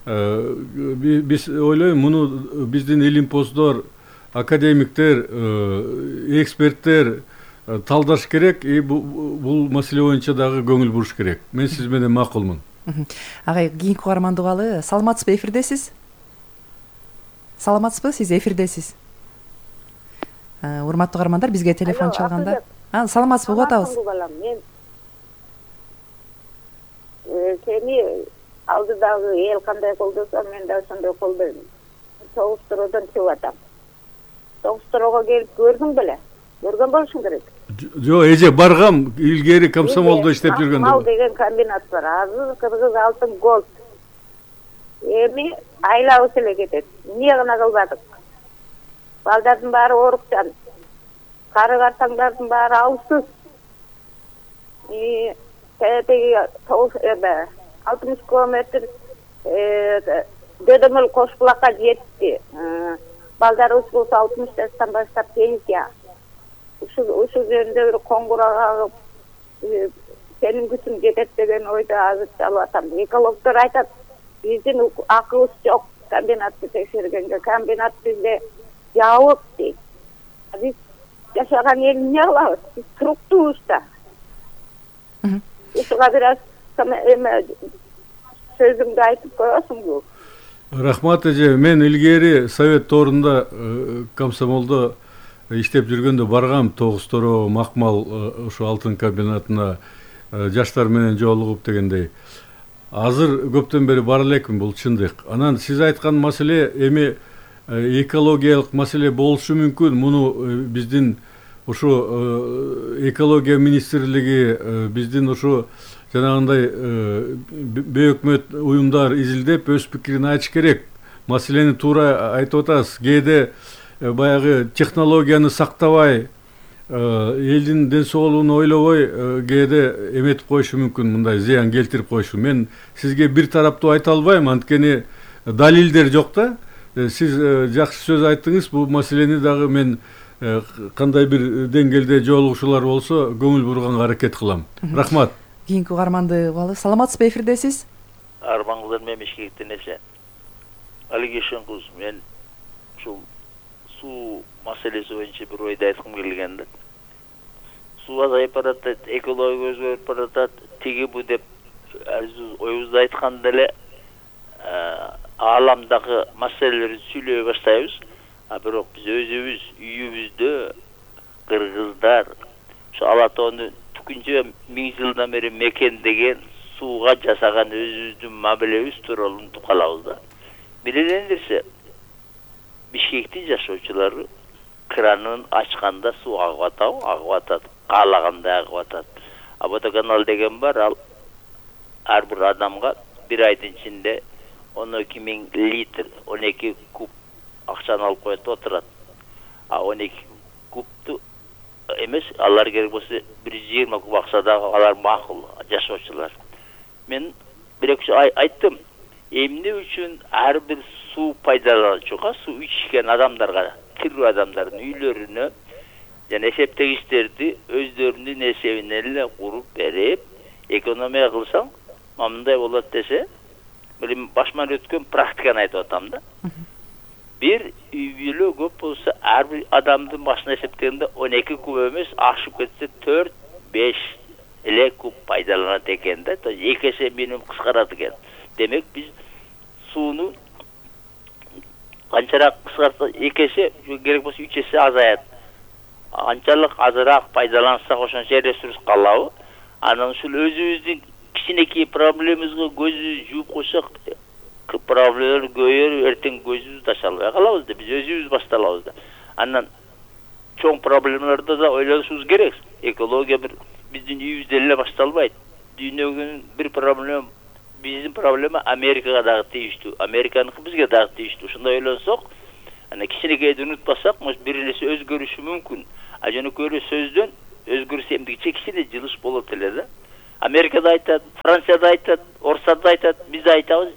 Биз ойлойм, муну биздин илимпоздор, академиктер, эксперттер талдаш керек, и бул маселе боюнча дагы көңүл буруш керек. Мен сиз менен макулмун. Агай, кийинки угарманды угалы. Саламатсызбы, эфирдесиз? Саламатсызбы, сиз эфирдесиз? Урматтуу угармандар, бизге телефон чалганда. Саламатсызбы, угуп атабыз. Мен сени алдыдагы эл кандай колдосо, мен да ошондой колдойм. Тогуз-төрөдөн чыгып атам. Тогуз-төрөгө келип көрдүң беле? Көргөн болушуң керек. Жок, эже баргам, илгери комсомолдо иштеп жүргөндө. Мал деген комбинат бар. Азыр Кыргыз алтын голд. Эми айлабыз эле кетет. Эмне гана кылбадык? Балдардын баары оорукчан. Кары картаңдардын баары аусыз. И теги алтымыш километр дөдөмөл кош булакка жетти. Балдарыбыз болсо алтымыш жаштан баштап пенсия. Ушу ушу жөнүндө бир коңгуроо кагып, сенин күчүң жетет деген ойдо азыр чалып атам. Экологдор айтат, биздин акыбыз жок комбинатты текшергенге. Комбинат бизде жабык дейт. Биз жашаган эл эмне кылабыз? Биз туруктуубуз да. Ушуга бир аз сөзүңдү айтып коесуңбу? Рахмат эже, мен илгери совет тоорунда комсомолдо иштеп жүргөндө баргам, Тогуз-Төрө, Макмал ошо алтын комбинатына жаштар менен жолугуп дегендей. Азыр көптөн бери бара элекмин, бул чындык. Анан сиз айткан маселе эми экологиялык маселе болушу мүмкүн. Муну биздин ушу экология министрлиги, биздин ушу жанагындай бейөкмөт уюмдар изилдеп өз пикирин айтыш керек. Маселени туура айтып атасыз. Кээде баягы технологияны сактабай, элдин ден соолугун ойлобой, кээде эметип коюшу мүмкүн, мындай зыян келтирип коюшу. Мен сизге бир тараптуу айта албайм, анткени далилдер жок да. Сиз жакшы сөз айттыңыз, бул маселени дагы мен кандай бир деңгээлде жолугушуулар болсо көңүл бурганга аракет кылам. Рахмат. Кийинки угарманды угалы. Саламатсызбы, эфирдесиз? Армаңыздар мен Бишкектен эсе. Алигешен кыз, мен ушул суу маселеси боюнча бир ойду айткым келген да. Суу азайып баратат, экология өзгөрүп баратат, тиги бу деп оюбузду айтканда эле ааламдагы маселелерди сүйлөй баштайбыз. А бирок биз өзүбүз үйүбүздө кыргыздар ошо ала тоону түкүнчө миң жылдан бери мекендеген сууга жасаган өзүбүздүн мамилебиз тууралуу унутуп калабыз да. Биринен нерсе, Бишкектин жашоочулары кранын ачканда суу агып атабы, агып атат, каалагандай агып атат. А водоканал деген бар, ал ар бир адамга бир айдын ичинде он эки миң литр, он эки куб акчаны алып коет отурат. А он эки кубту эмес, алар керек болсо бир жүз жыйырма куб акчада алар макул жашоочулар. Мен бирок айттым, эмне үчүн ар бир суу пайдалануучуга, суу ичкен адамдарга, тирүү адамдардын үйлөрүнө жана эсептегичтерди өздөрүнүн эсебине эле куруп берип, экономия кылсаң, мындай болот десе, мен башыман өткөн практиканы айтып атам да. Бир үй бүлө көп болсо, ар бир адамдын башына эсептегенде он эки куб эмес, ашып кетсе төрт беш эле куб пайдаланат экен да. эки эсе минимум кыскарат экен. Демек биз сууну канчараак кыскартса, эки эсе, керек болсо үч эсе азаят. Анчалык азыраак пайдалансак ошончо ресурс калабы. анан ушул өзүбүздүн кичинекей проблемабызга көзү жууп койсок проблемалар көбөйөр, эртең көзүбүздү ача албай калабыз да, биз өзүбүз башталабыз да. Андан чоң проблемаларды да ойлонушубуз керек. Экология бир биздин үйүбүздөн эле башталбайт. Дүйнөгүн бир проблема, биздин проблема Америкага дагы тийиштүү, Американыкы бизге дагы тийиштүү. Ушундай ойлонсок, ана кичинекейди унутпасак, бир нерсе өзгөрүшү мүмкүн. А жөнөкөй эле сөздөн өзгөрүш эмдигиче кичине жылыш болот эле да. Америкада айтат, Францияда айтат, Орусияда айтат, биз айтабыз.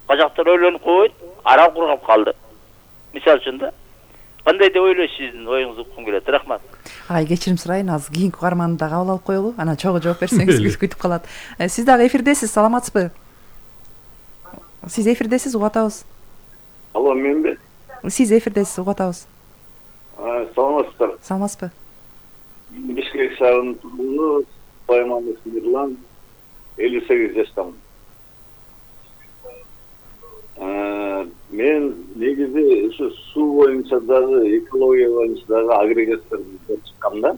Бажактар ойлонуп койбойт, арал кургап калды. Мисалы үчүн да. Кандай деп ойлойсуз, сиздин оюңузду уккум келет. Рахмат. Ай, кечирим сурайын, азыр кийинки угарманды да кабыл алып коелу. Анан чогуу жооп берсеңиз күтүп калат. Сиз дагы эфирдесиз, саламатсызбы? Сиз эфирдесиз, угуп атабыз. Алло, менби? Сиз эфирдесиз, угуп атабыз. Саламатсыздар. Саламатсызбы? Бишкек шаарынын тургуну Байманов Мирлан, элүү сегиз жаштамын. Мен негизи ушу суу боюнча дагы, экология боюнча дагы агрегаттарды издеп чыкканда,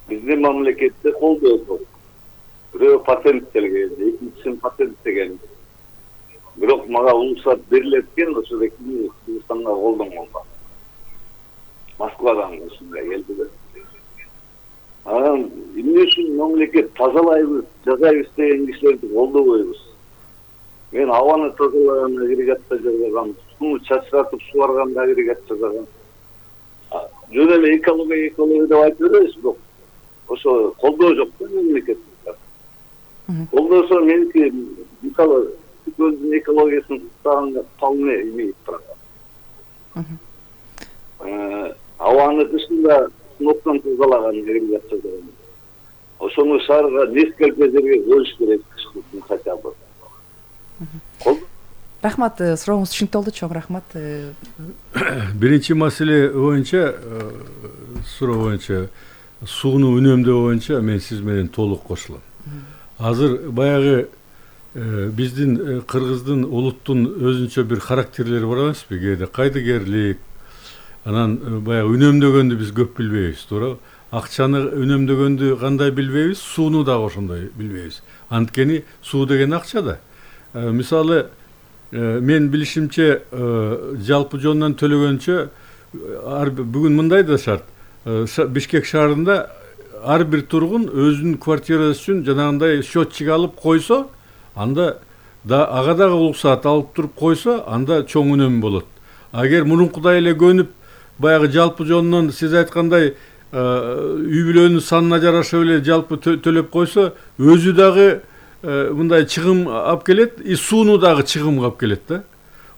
биздин мамлекетте колдоо жок. Бирөө патенттелген, экинчисин патенттеген. Бирок мага уруксат берилет экен, ошо Кыргызстанга колдонгонго. Москвадан ушундай келди да. Анан эмне үчүн мамлекет тазалайбыз, жасайбыз деген кишилерди колдобойбуз? Мен абаны тазалаган агрегатта жасаган, сууну чачыратып субарганда агрегат жасаган. Жөн эле экология, экология деп айтып беребиз, бирок ошо колдоо жок да мемлекетте. Колдосо меники мисалы өзүнүн экологиясын сактаганга вполне имеет право. Абаны дышында сыноктон тазалаган агрегат жасаган. Ошону шаарга несколько жерге коюш керек, хотя бы. Рахмат, сурооңуз түшүнүктүү болду, чоң рахмат. Биринчи маселе боюнча, суроо боюнча, сууну үнөмдөө боюнча мен сиз менен толук кошулам. Азыр баягы биздин кыргыздын улуттун өзүнчө бир характерлери бар эмеспи? Кээде кайдыгерлик, анан баягы үнөмдөгөндү биз көп билбейбиз, туура? Акчаны үнөмдөгөндү кандай билбейбиз, сууну дагы ошондой билбейбиз. Анткени суу деген акча да. Мисалы, мен билишимче жалпы жонунан төлөгөнчө бүгүн мындай да шарт. Бишкек шаарында ар бир тургун өзүнүн квартирасы үчүн жанагындай счетчик алып койсо, анда да ага дагы уруксаат алып туруп койсо, анда чоң үнөм болот. Агер мурункудай эле көнүп, баягы жалпы жонунан сиз айткандай үй бүлөнүн санына жараша эле жалпы төлөп койсо, өзү дагы мындай чыгым алып келет, и сууну дагы чыгымга алып келет да.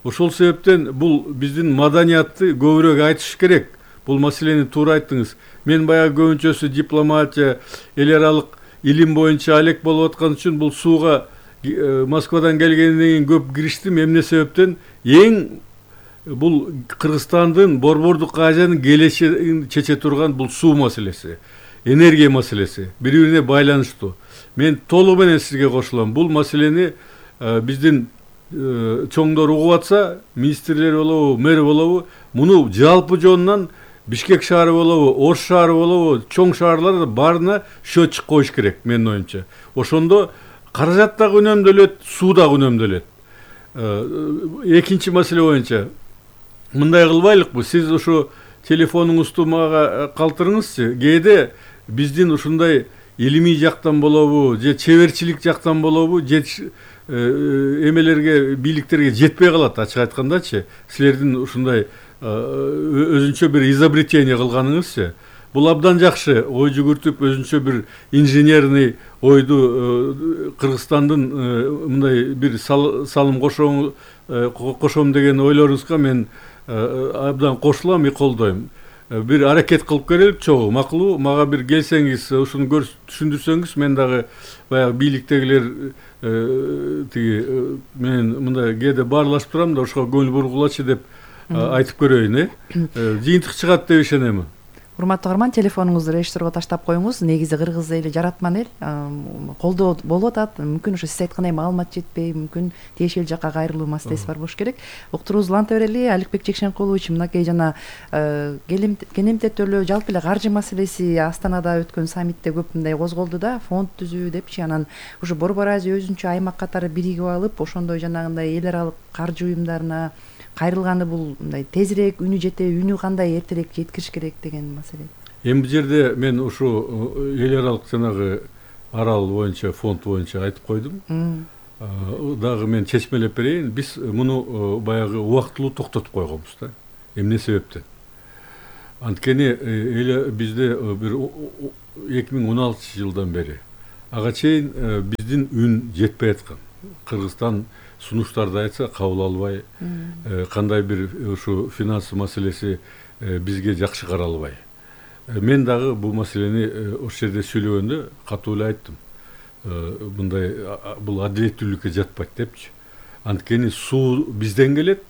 Ошол себептен бул биздин маданиятты көбүрөөк айтыш керек. Бул маселени туура айттыңыз. Мен баягы көбүнчөсү дипломатия, эл аралык илим боюнча алек болуп аткан үчүн бул сууга Москвадан келгенден кийин көп кириштим. Эмне себептен эң бул Кыргызстандын Борбордук Азиянын келечегин чече турган бул суу маселеси, энергия маселеси бири-бирине байланыштуу. Мен толугу менен сизге кошулам. Бул маселени биздин чоңдор угуп атса, министрлер болобу, мэр болобу, муну жалпы жонунан Бишкек шаары болобу, Ош шаары болобу, чоң шаарлар баарына счетчик коюш керек, менин оюмча. Ошондо каражат дагы үнөмдөлөт, суу дагы үнөмдөлөт. Экинчи маселе боюнча мындай кылбайлыкпы? Сиз ушу телефонуңузду мага калтырыңызчы. Кээде биздин ушундай илимий жактан болобу, же чеберчилик жактан болобу, же эмелерге, бийликтерге жетпей калат, ачык айткандачы. Силердин ушундай өзүнчө бир изобретение кылганыңызчы. Бул абдан жакшы, ой жүгүртүп, өзүнчө бир инженерный ойду Кыргызстандын мындай бир салым кошом кошом деген ойлоруңузга мен абдан кошулам, и колдойм. Бир аракет кылып көрөлүк, чогуу, макулбу? Мага бир келсеңиз, ушуну түшүндүрсөңүз, мен дагы баягы бийликтегилер тиги мен мындай кээде баарлашып турам да, ошого көңүл бургулачы деп айтып көрөйүн, э? Жыйынтык чыгат деп ишенем. урматтуу каарман, телефонуңузду режиссерго таштап коюңуз. Негизи кыргыз эли жаратман эл, колдоо болуп атат. Мүмкүн ошо сиз айткандай маалымат жетпей, мүмкүн тиешелүү жакка кайрылуу маселеси бар болуш керек. Уктуруубузду уланта берели. Аликбек Жекшенкулович, мынакей жана кенемтеттөлөө жалпы эле каржы маселеси Астанада өткөн саммитте көп мындай козголду да, фонд түзүү депчи. Анан ушу Борбор Азия өзүнчө аймак катары биригип алып, ошондой жанагындай эл аралык каржы уюмдарына кайрылганы бул мындай тезирээк үнү жетеби, үнү кандай эртерээк жеткириш керек деген маселе. Эми бул жерде мен ушу эл аралык жанагы арал боюнча, фонд боюнча айтып койдум. Дагы мен чечмелеп берейин. Биз муну баягы убактылуу токтотуп койгонбуз да. Эмне себептен? Анткени эле бизде бир эки миң он алтынчы жылдан бери ага чейин биздин үн жетпей аткан. Кыргызстан сунуштарды айтса кабыл албай, кандай бир ушу финанс маселеси бизге жакшы каралбай. Мен дагы бул маселени ошол жерде сүйлөгөндө катуу эле айттым. Мындай бул адилеттүүлүккө жатпайт депчи. Анткени суу бизден келет,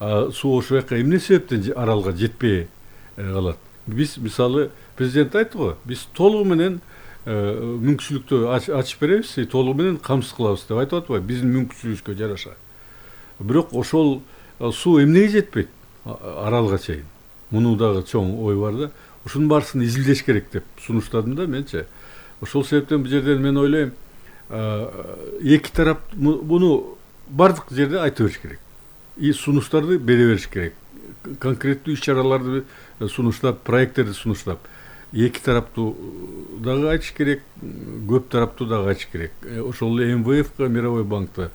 суу ошол жака эмне себептен аралга жетпей калат. Биз мисалы президент айтты го, биз толугу менен мүмкүнчүлүктү ачып беребиз, толугу менен камсыз кылабыз деп айтып атпайбы, биздин мүмкүнчүлүгүбүзгө жараша. Бирок ошол суу эмнеге жетпейт аралга чейин? Муну дагы чоң ой бар да. Ушунун баарысын изилдеш керек деп сунуштадым да менче. Ошол себептен бул жерден мен ойлойм, эки тарап муну бардык жерде айта бериш керек. И сунуштарды бере бериш керек. Конкреттүү иш-чараларды сунуштап, проекттерди сунуштап, эки тараптуу дагы айтыш керек, көп тараптуу дагы айтыш керек. Ошол эле эм вэ эфка, Мировой банкта.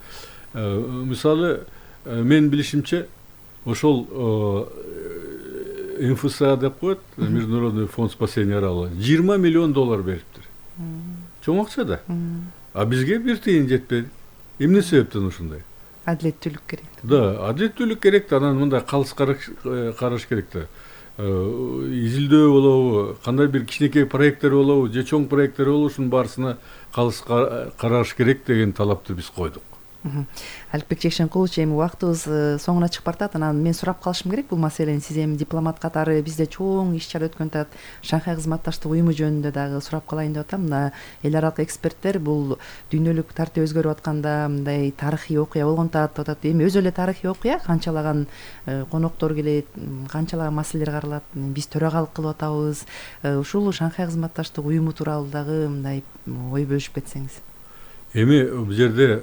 Мисалы, мен билишимче, ошол эм эф эс а деп коет, Международный фонд спасения арала, жыйырма миллион доллар бериптир. Чоң акча да. А бизге бир тыйын жетпеди. Эмне себептен ушундай? Адилеттүүлүк керек. Да, адилеттүүлүк керек да, анан мындай калыс караш керек да. Изилдөө болобу, кандай бир кичинекей проекттер болобу, же чоң проекттер болобу, ушунун баарысына калыс караш керек деген талапты биз койдук. Аликбек Жекшенкулович, эми убактыбыз соңуна чыгып баратат. Анан мен сурап калышым керек бул маселени. Сиз эми дипломат катары бизде чоң иш-чара өткөн атат. Шанхай кызматташтык уюму жөнүндө дагы сурап калайын деп атам. Мына эл аралык эксперттер бул дүйнөлүк тартип өзгөрүп атканда мындай тарыхый окуя болгон атат атат. Эми өзү эле тарыхый окуя, канчалаган коноктор келет, канчалаган маселелер каралат. Биз төрагалык кылып атабыз. Ушул Шанхай кызматташтык уюму тууралуу дагы мындай ой бөлүшүп кетсеңиз. Эми бул жерде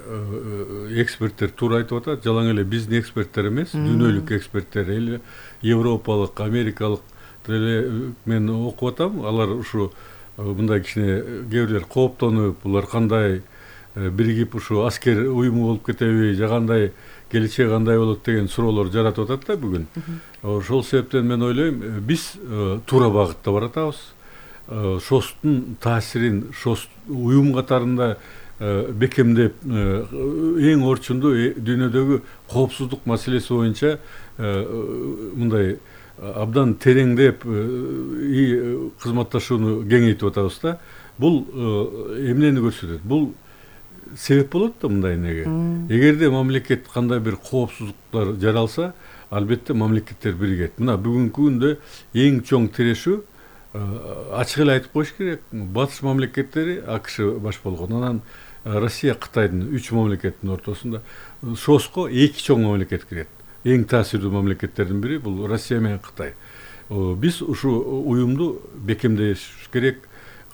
эксперттер туура айтып атат, жалаң эле биздин эксперттер эмес, дүйнөлүк эксперттер, эл европалык, америкалык деле мен окуп атам. Алар ушу мындай кичине кээ бирлер кооптонуп, булар кандай биригип ушу аскер уюму болуп кетеби, же кандай келечеги кандай болот деген суроолор жаратып атат да бүгүн. Ошол себептен мен ойлойм, биз туура багытта баратабыз. Шостун таасирин шост уюм катарында бекемдеп, эң орчундуу дүйнөдөгү коопсуздук маселеси боюнча мындай абдан тереңдеп кызматташууну кеңейтип атабыз да. Бул эмнени көрсөтөт? Бул себеп болот да мындай неге. Эгерде мамлекет кандай бир коопсуздуктар жаралса, албетте мамлекеттер биригет. Мына бүгүнкү күндө эң чоң тирешүү ачык эле айтып коюш керек. Батыш мамлекеттери АКШ баш болгон. Анан Россия, Кытайдын үч мамлекеттин ортосунда шоско эки чоң мамлекет кирет. Эң таасирдүү мамлекеттердин бири бул Россия менен Кытай. Биз ушу уюмду бекемдеш керек,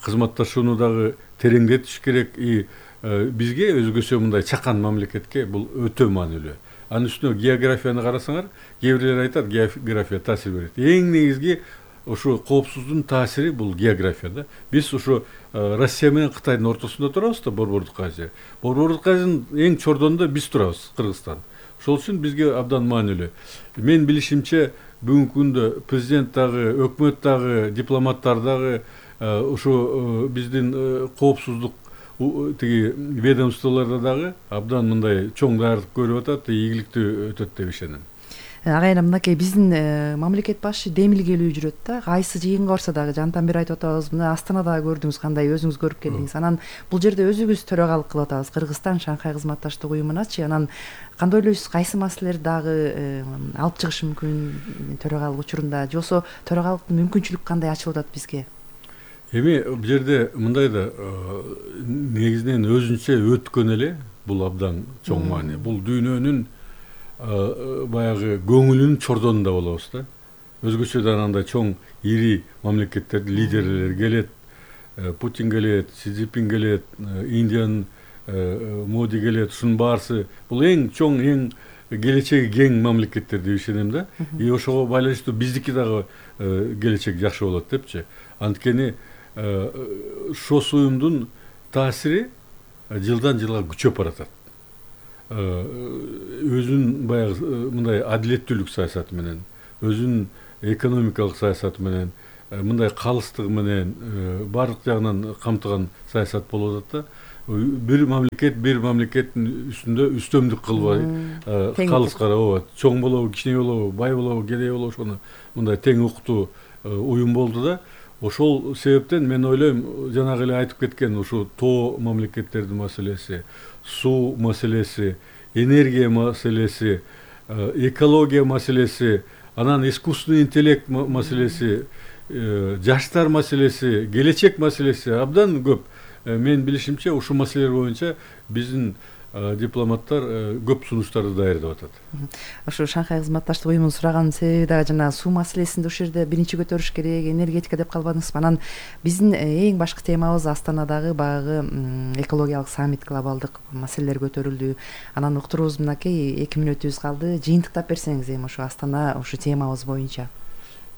кызматташууну дагы тереңдетиш керек. И бизге өзгөчө мындай чакан мамлекетке бул өтө маанилүү. Анын үстүнө географияны карасаңар, кээ бирлер айтат, география таасир берет. Эң негизги ушу коопсуздуктун таасири бул география да. Биз ушу Россия менен Кытайдын ортосунда турабыз да, Борбордук Азия. Борбордук Азиянын эң чордонунда биз турабыз, Кыргызстан. Ошол үчүн бизге абдан маанилүү. Мен билишимче бүгүнкү күндө президент дагы, өкмөт дагы, дипломаттар дагы ушу биздин коопсуздук тиги ведомстволордо дагы абдан мындай чоң даярдык көрүп атат, ийгиликтүү өтөт деп ишенем. Агайына мынакей биздин мамлекет башы демилгелүү жүрөт да. Кайсы жыйынга барса дагы жантан бери айтып атабыз. Мына Астанада көрдүңүз кандай, өзүңүз көрүп келдиңиз. Анан бул жерде өзүбүз төрагалык кылып атабыз. Кыргызстан Шанхай кызматташтык уюмуначы. Анан кандай ойлойсуз, кайсы маселелерди дагы алып чыгыш мүмкүн төрагалык учурунда, же болбосо төрагалыктын мүмкүнчүлүк кандай ачылып атат бизге? Эми бул жерде мындай да негизинен өзүнчө өткөн эле бул абдан чоң маани. Бул дүйнөнүн баягы көңүлүнүн чордонунда болобуз да. Өзгөчөдөн андай чоң ири мамлекеттердин лидерлери келет, Путин келет, Си Цзиньпин келет, Индиянын Моди келет, ушунун баарысы бул эң чоң, эң келечеги кең мамлекеттер деп ишенем да. И ошого байланыштуу биздики дагы келечек жакшы болот депчи. Анткени ШОС уюмдун таасири жылдан жылга күчөп баратат. Өзүнүн баягы мындай адилеттүүлүк саясаты менен, өзүнүн экономикалык саясаты менен, мындай калыстыгы менен баардык жагынан камтыган саясат болуп атат да. Бир мамлекет бир мамлекеттин үстүндө үстөмдүк кылбай, калыскара ооба, чоң болобу, кичине болобу, бай болобу, кедей болобу, ошону мындай тең укуктуу уюм болду да. Ошол себептен мен ойлойм, жанагы эле айтып кеткен ушу тоо мамлекеттердин маселеси, суу маселеси, энергия маселеси, экология маселеси, анан искусственный интеллект маселеси, жаштар маселеси, келечек маселеси абдан көп. Мен билишимче ушул маселелер боюнча биздин дипломаттар көп сунуштарды даярдап атат. Ошо Шанхай кызматташтык уюмунун сураганын себеби дагы жана суу маселесинде ушул жерде биринчи көтөрүш керек, энергетика деп калбадыңызбы? Анан биздин эң башкы темабыз Астанадагы баягы экологиялык саммит, глобалдык маселелер көтөрүлдү. Анан уктурубуз мынакей эки мүнөтүбүз калды. Жыйынтыктап берсеңиз эми ошо Астана ушу темабыз боюнча.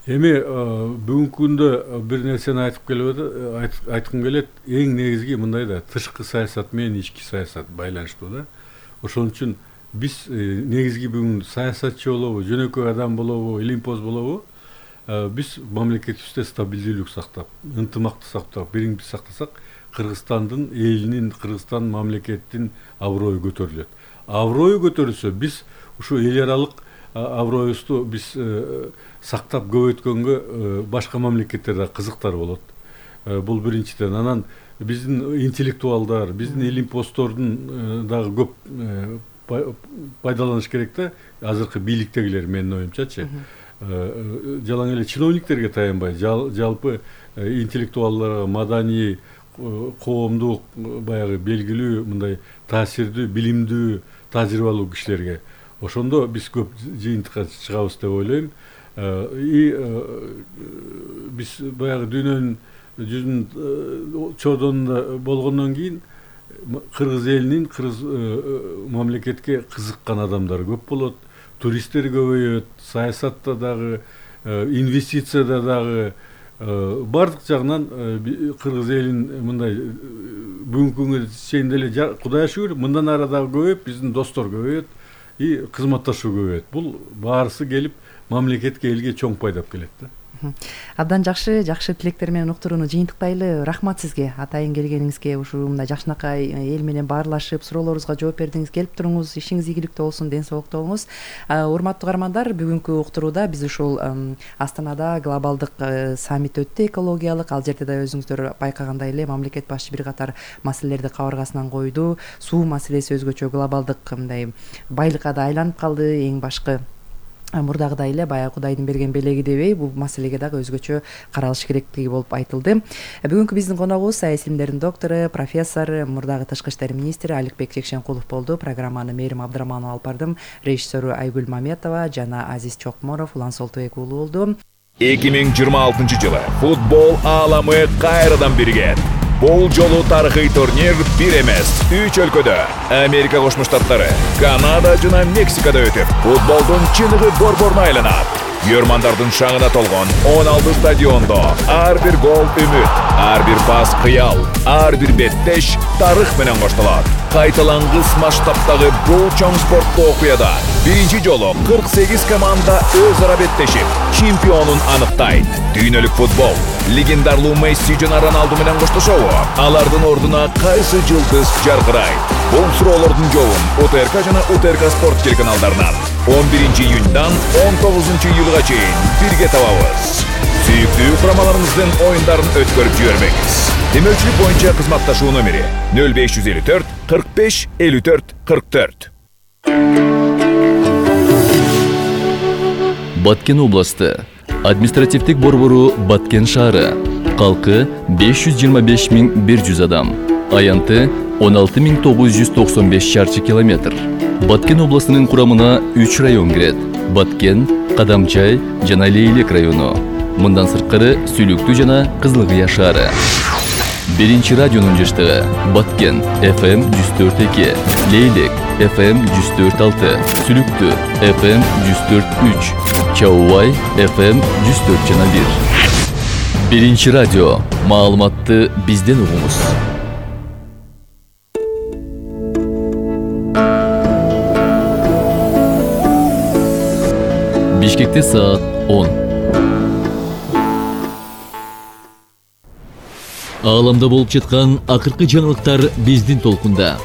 Эми бүгүнкү күндө бир нерсени айтып келип айткым келет. Эң негизги мындай да, тышкы саясат менен ички саясат байланыштуу да. Ошон үчүн биз негизги бүгүн саясатчы болобу, жөнөкөй адам болобу, илимпоз болобу, биз мамлекетибизде стабилдүүлүк сактап, ынтымакты сактап, бириңди сактасак, Кыргызстандын элинин, Кыргызстан мамлекеттин аброю көтөрүлөт. Аброю көтөрүлсө, биз ушу эл аралык аброюбузду биз сактап көбөйткөнгө башка мамлекеттерде кызыктар болот. Бул биринчиден. Анан биздин интеллектуалдар, биздин илимпоздордун дагы көп пайдаланыш керек да. Азыркы бийликтегилер менин оюмчачы. Жалаң эле чиновниктерге таянбай, жалпы интеллектуалдарга, маданий, коомдук баягы белгилүү мындай таасирдүү, билимдүү, тажрыйбалуу кишилерге ошондо биз көп жыйынтыкка чыгабыз деп ойлойм. И биз баягы дүйнөнүн жүзүнүн чордонунда болгондон кийин кыргыз элинин, кыргыз мамлекетке кызыккан адамдар көп болот, туристтер көбөйөт, саясатта дагы, инвестицияда дагы, баардык жагынан кыргыз элин мындай бүгүнкү күнгө чейин деле Кудайга шүгүр мындан ары дагы көбөйүп, биздин достор көбөйөт и кызматташуу көбөйөт. Бул баарысы келип мамлекетке, элге чоң пайдап келет да. Абдан жакшы, жакшы тилектер менен уктурууну жыйынтыктайлы. Рахмат сизге атайын келгениңизге, ушул мындай жакшынакай эл менен баарлашып, суроолорубузга жооп бердиңиз. Келип туруңуз, ишиңиз ийгиликтүү болсун, ден соолуктуу болуңуз. Урматтуу каармандар, бүгүнкү уктурууда биз ушул Астанада глобалдык саммит өттү, экологиялык. Ал жерде да өзүңүздөр байкагандай эле мамлекет башчы бир катар маселелерди кабыргасынан койду. Суу маселеси өзгөчө глобалдык мындай байлыкка да айланып калды. Эң башкы мурдагыдай эле баягы Кудайдын берген белеги дебей, бул маселеге дагы өзгөчө каралыш керектиги болуп айтылды. Бүгүнкү биздин коногубуз саясий илимдердин доктору, профессор, мурдагы тышкы иштер министри Аликбек Жекшенкулов болду. Программаны Мээрим Абдыраманова алып бардым. Режиссеру Айгүл Маметова жана Азиз Чокморов, Улан Солтубек уулу болду. эки миң жыйырма алтынчы жылы футбол ааламы кайрадан биригет. Бул жолу тарыхый турнир бир эмес, үч өлкөдө Америка Кошмо Штаттары, Канада жана Мексикада өтүп, футболдун чыныгы борборуна айланат. Күйөрмандардын шаңына толгон он алты стадиондо ар бир гол үмүт, ар бир пас кыял, ар бир беттеш тарых менен коштолот. Кайталангыс масштабтагы бул чоң спорттуу окуяда биринчи жолу кырк сегиз команда өз ара беттешип, чемпионун аныктайт. Дүйнөлүк футбол легендарлуу Месси жана Роналду менен коштошобу? Алардын ордуна кайсы жылдыз жаркырайт? Бул суроолордун жообун УТРК жана УТРК спорт телеканалдарынан он биринчи июньдан он тогузунчу июлга чейин бирге табабыз. Сүйүктүү курамаларыңыздын оюндарын өткөрүп жибермеңиз. Демөүчүлүк боюнча кызматташуу номери нөл беш жүз элүү төрт кырк беш элүү төрт кырк төрт. Баткен областы. Административдик борбору Баткен шаары. Калкы беш жүз жыйырма беш миң бир жүз адам. Аянты он алты миң тогуз жүз токсон беш чарчы километр. Баткен областынын курамына үч район кирет. Баткен, Кадамчай жана Лейлек району. Мындан сырткары Сүлүктүү жана Кызылкыя шаары. Биринчи радионун жыштыгы Баткен эф эм жүз төрт эки, Лейлек эф эм жүз төрт алты, Сүлүктүү эф эм жүз төрт үч, Чаубай эф эм жүз төрт жана бир. Биринчи радио. Маалыматты бизден угуңуз. Бишкекте саат он. Ааламда болуп жаткан акыркы жаңылыктар биздин толкунда.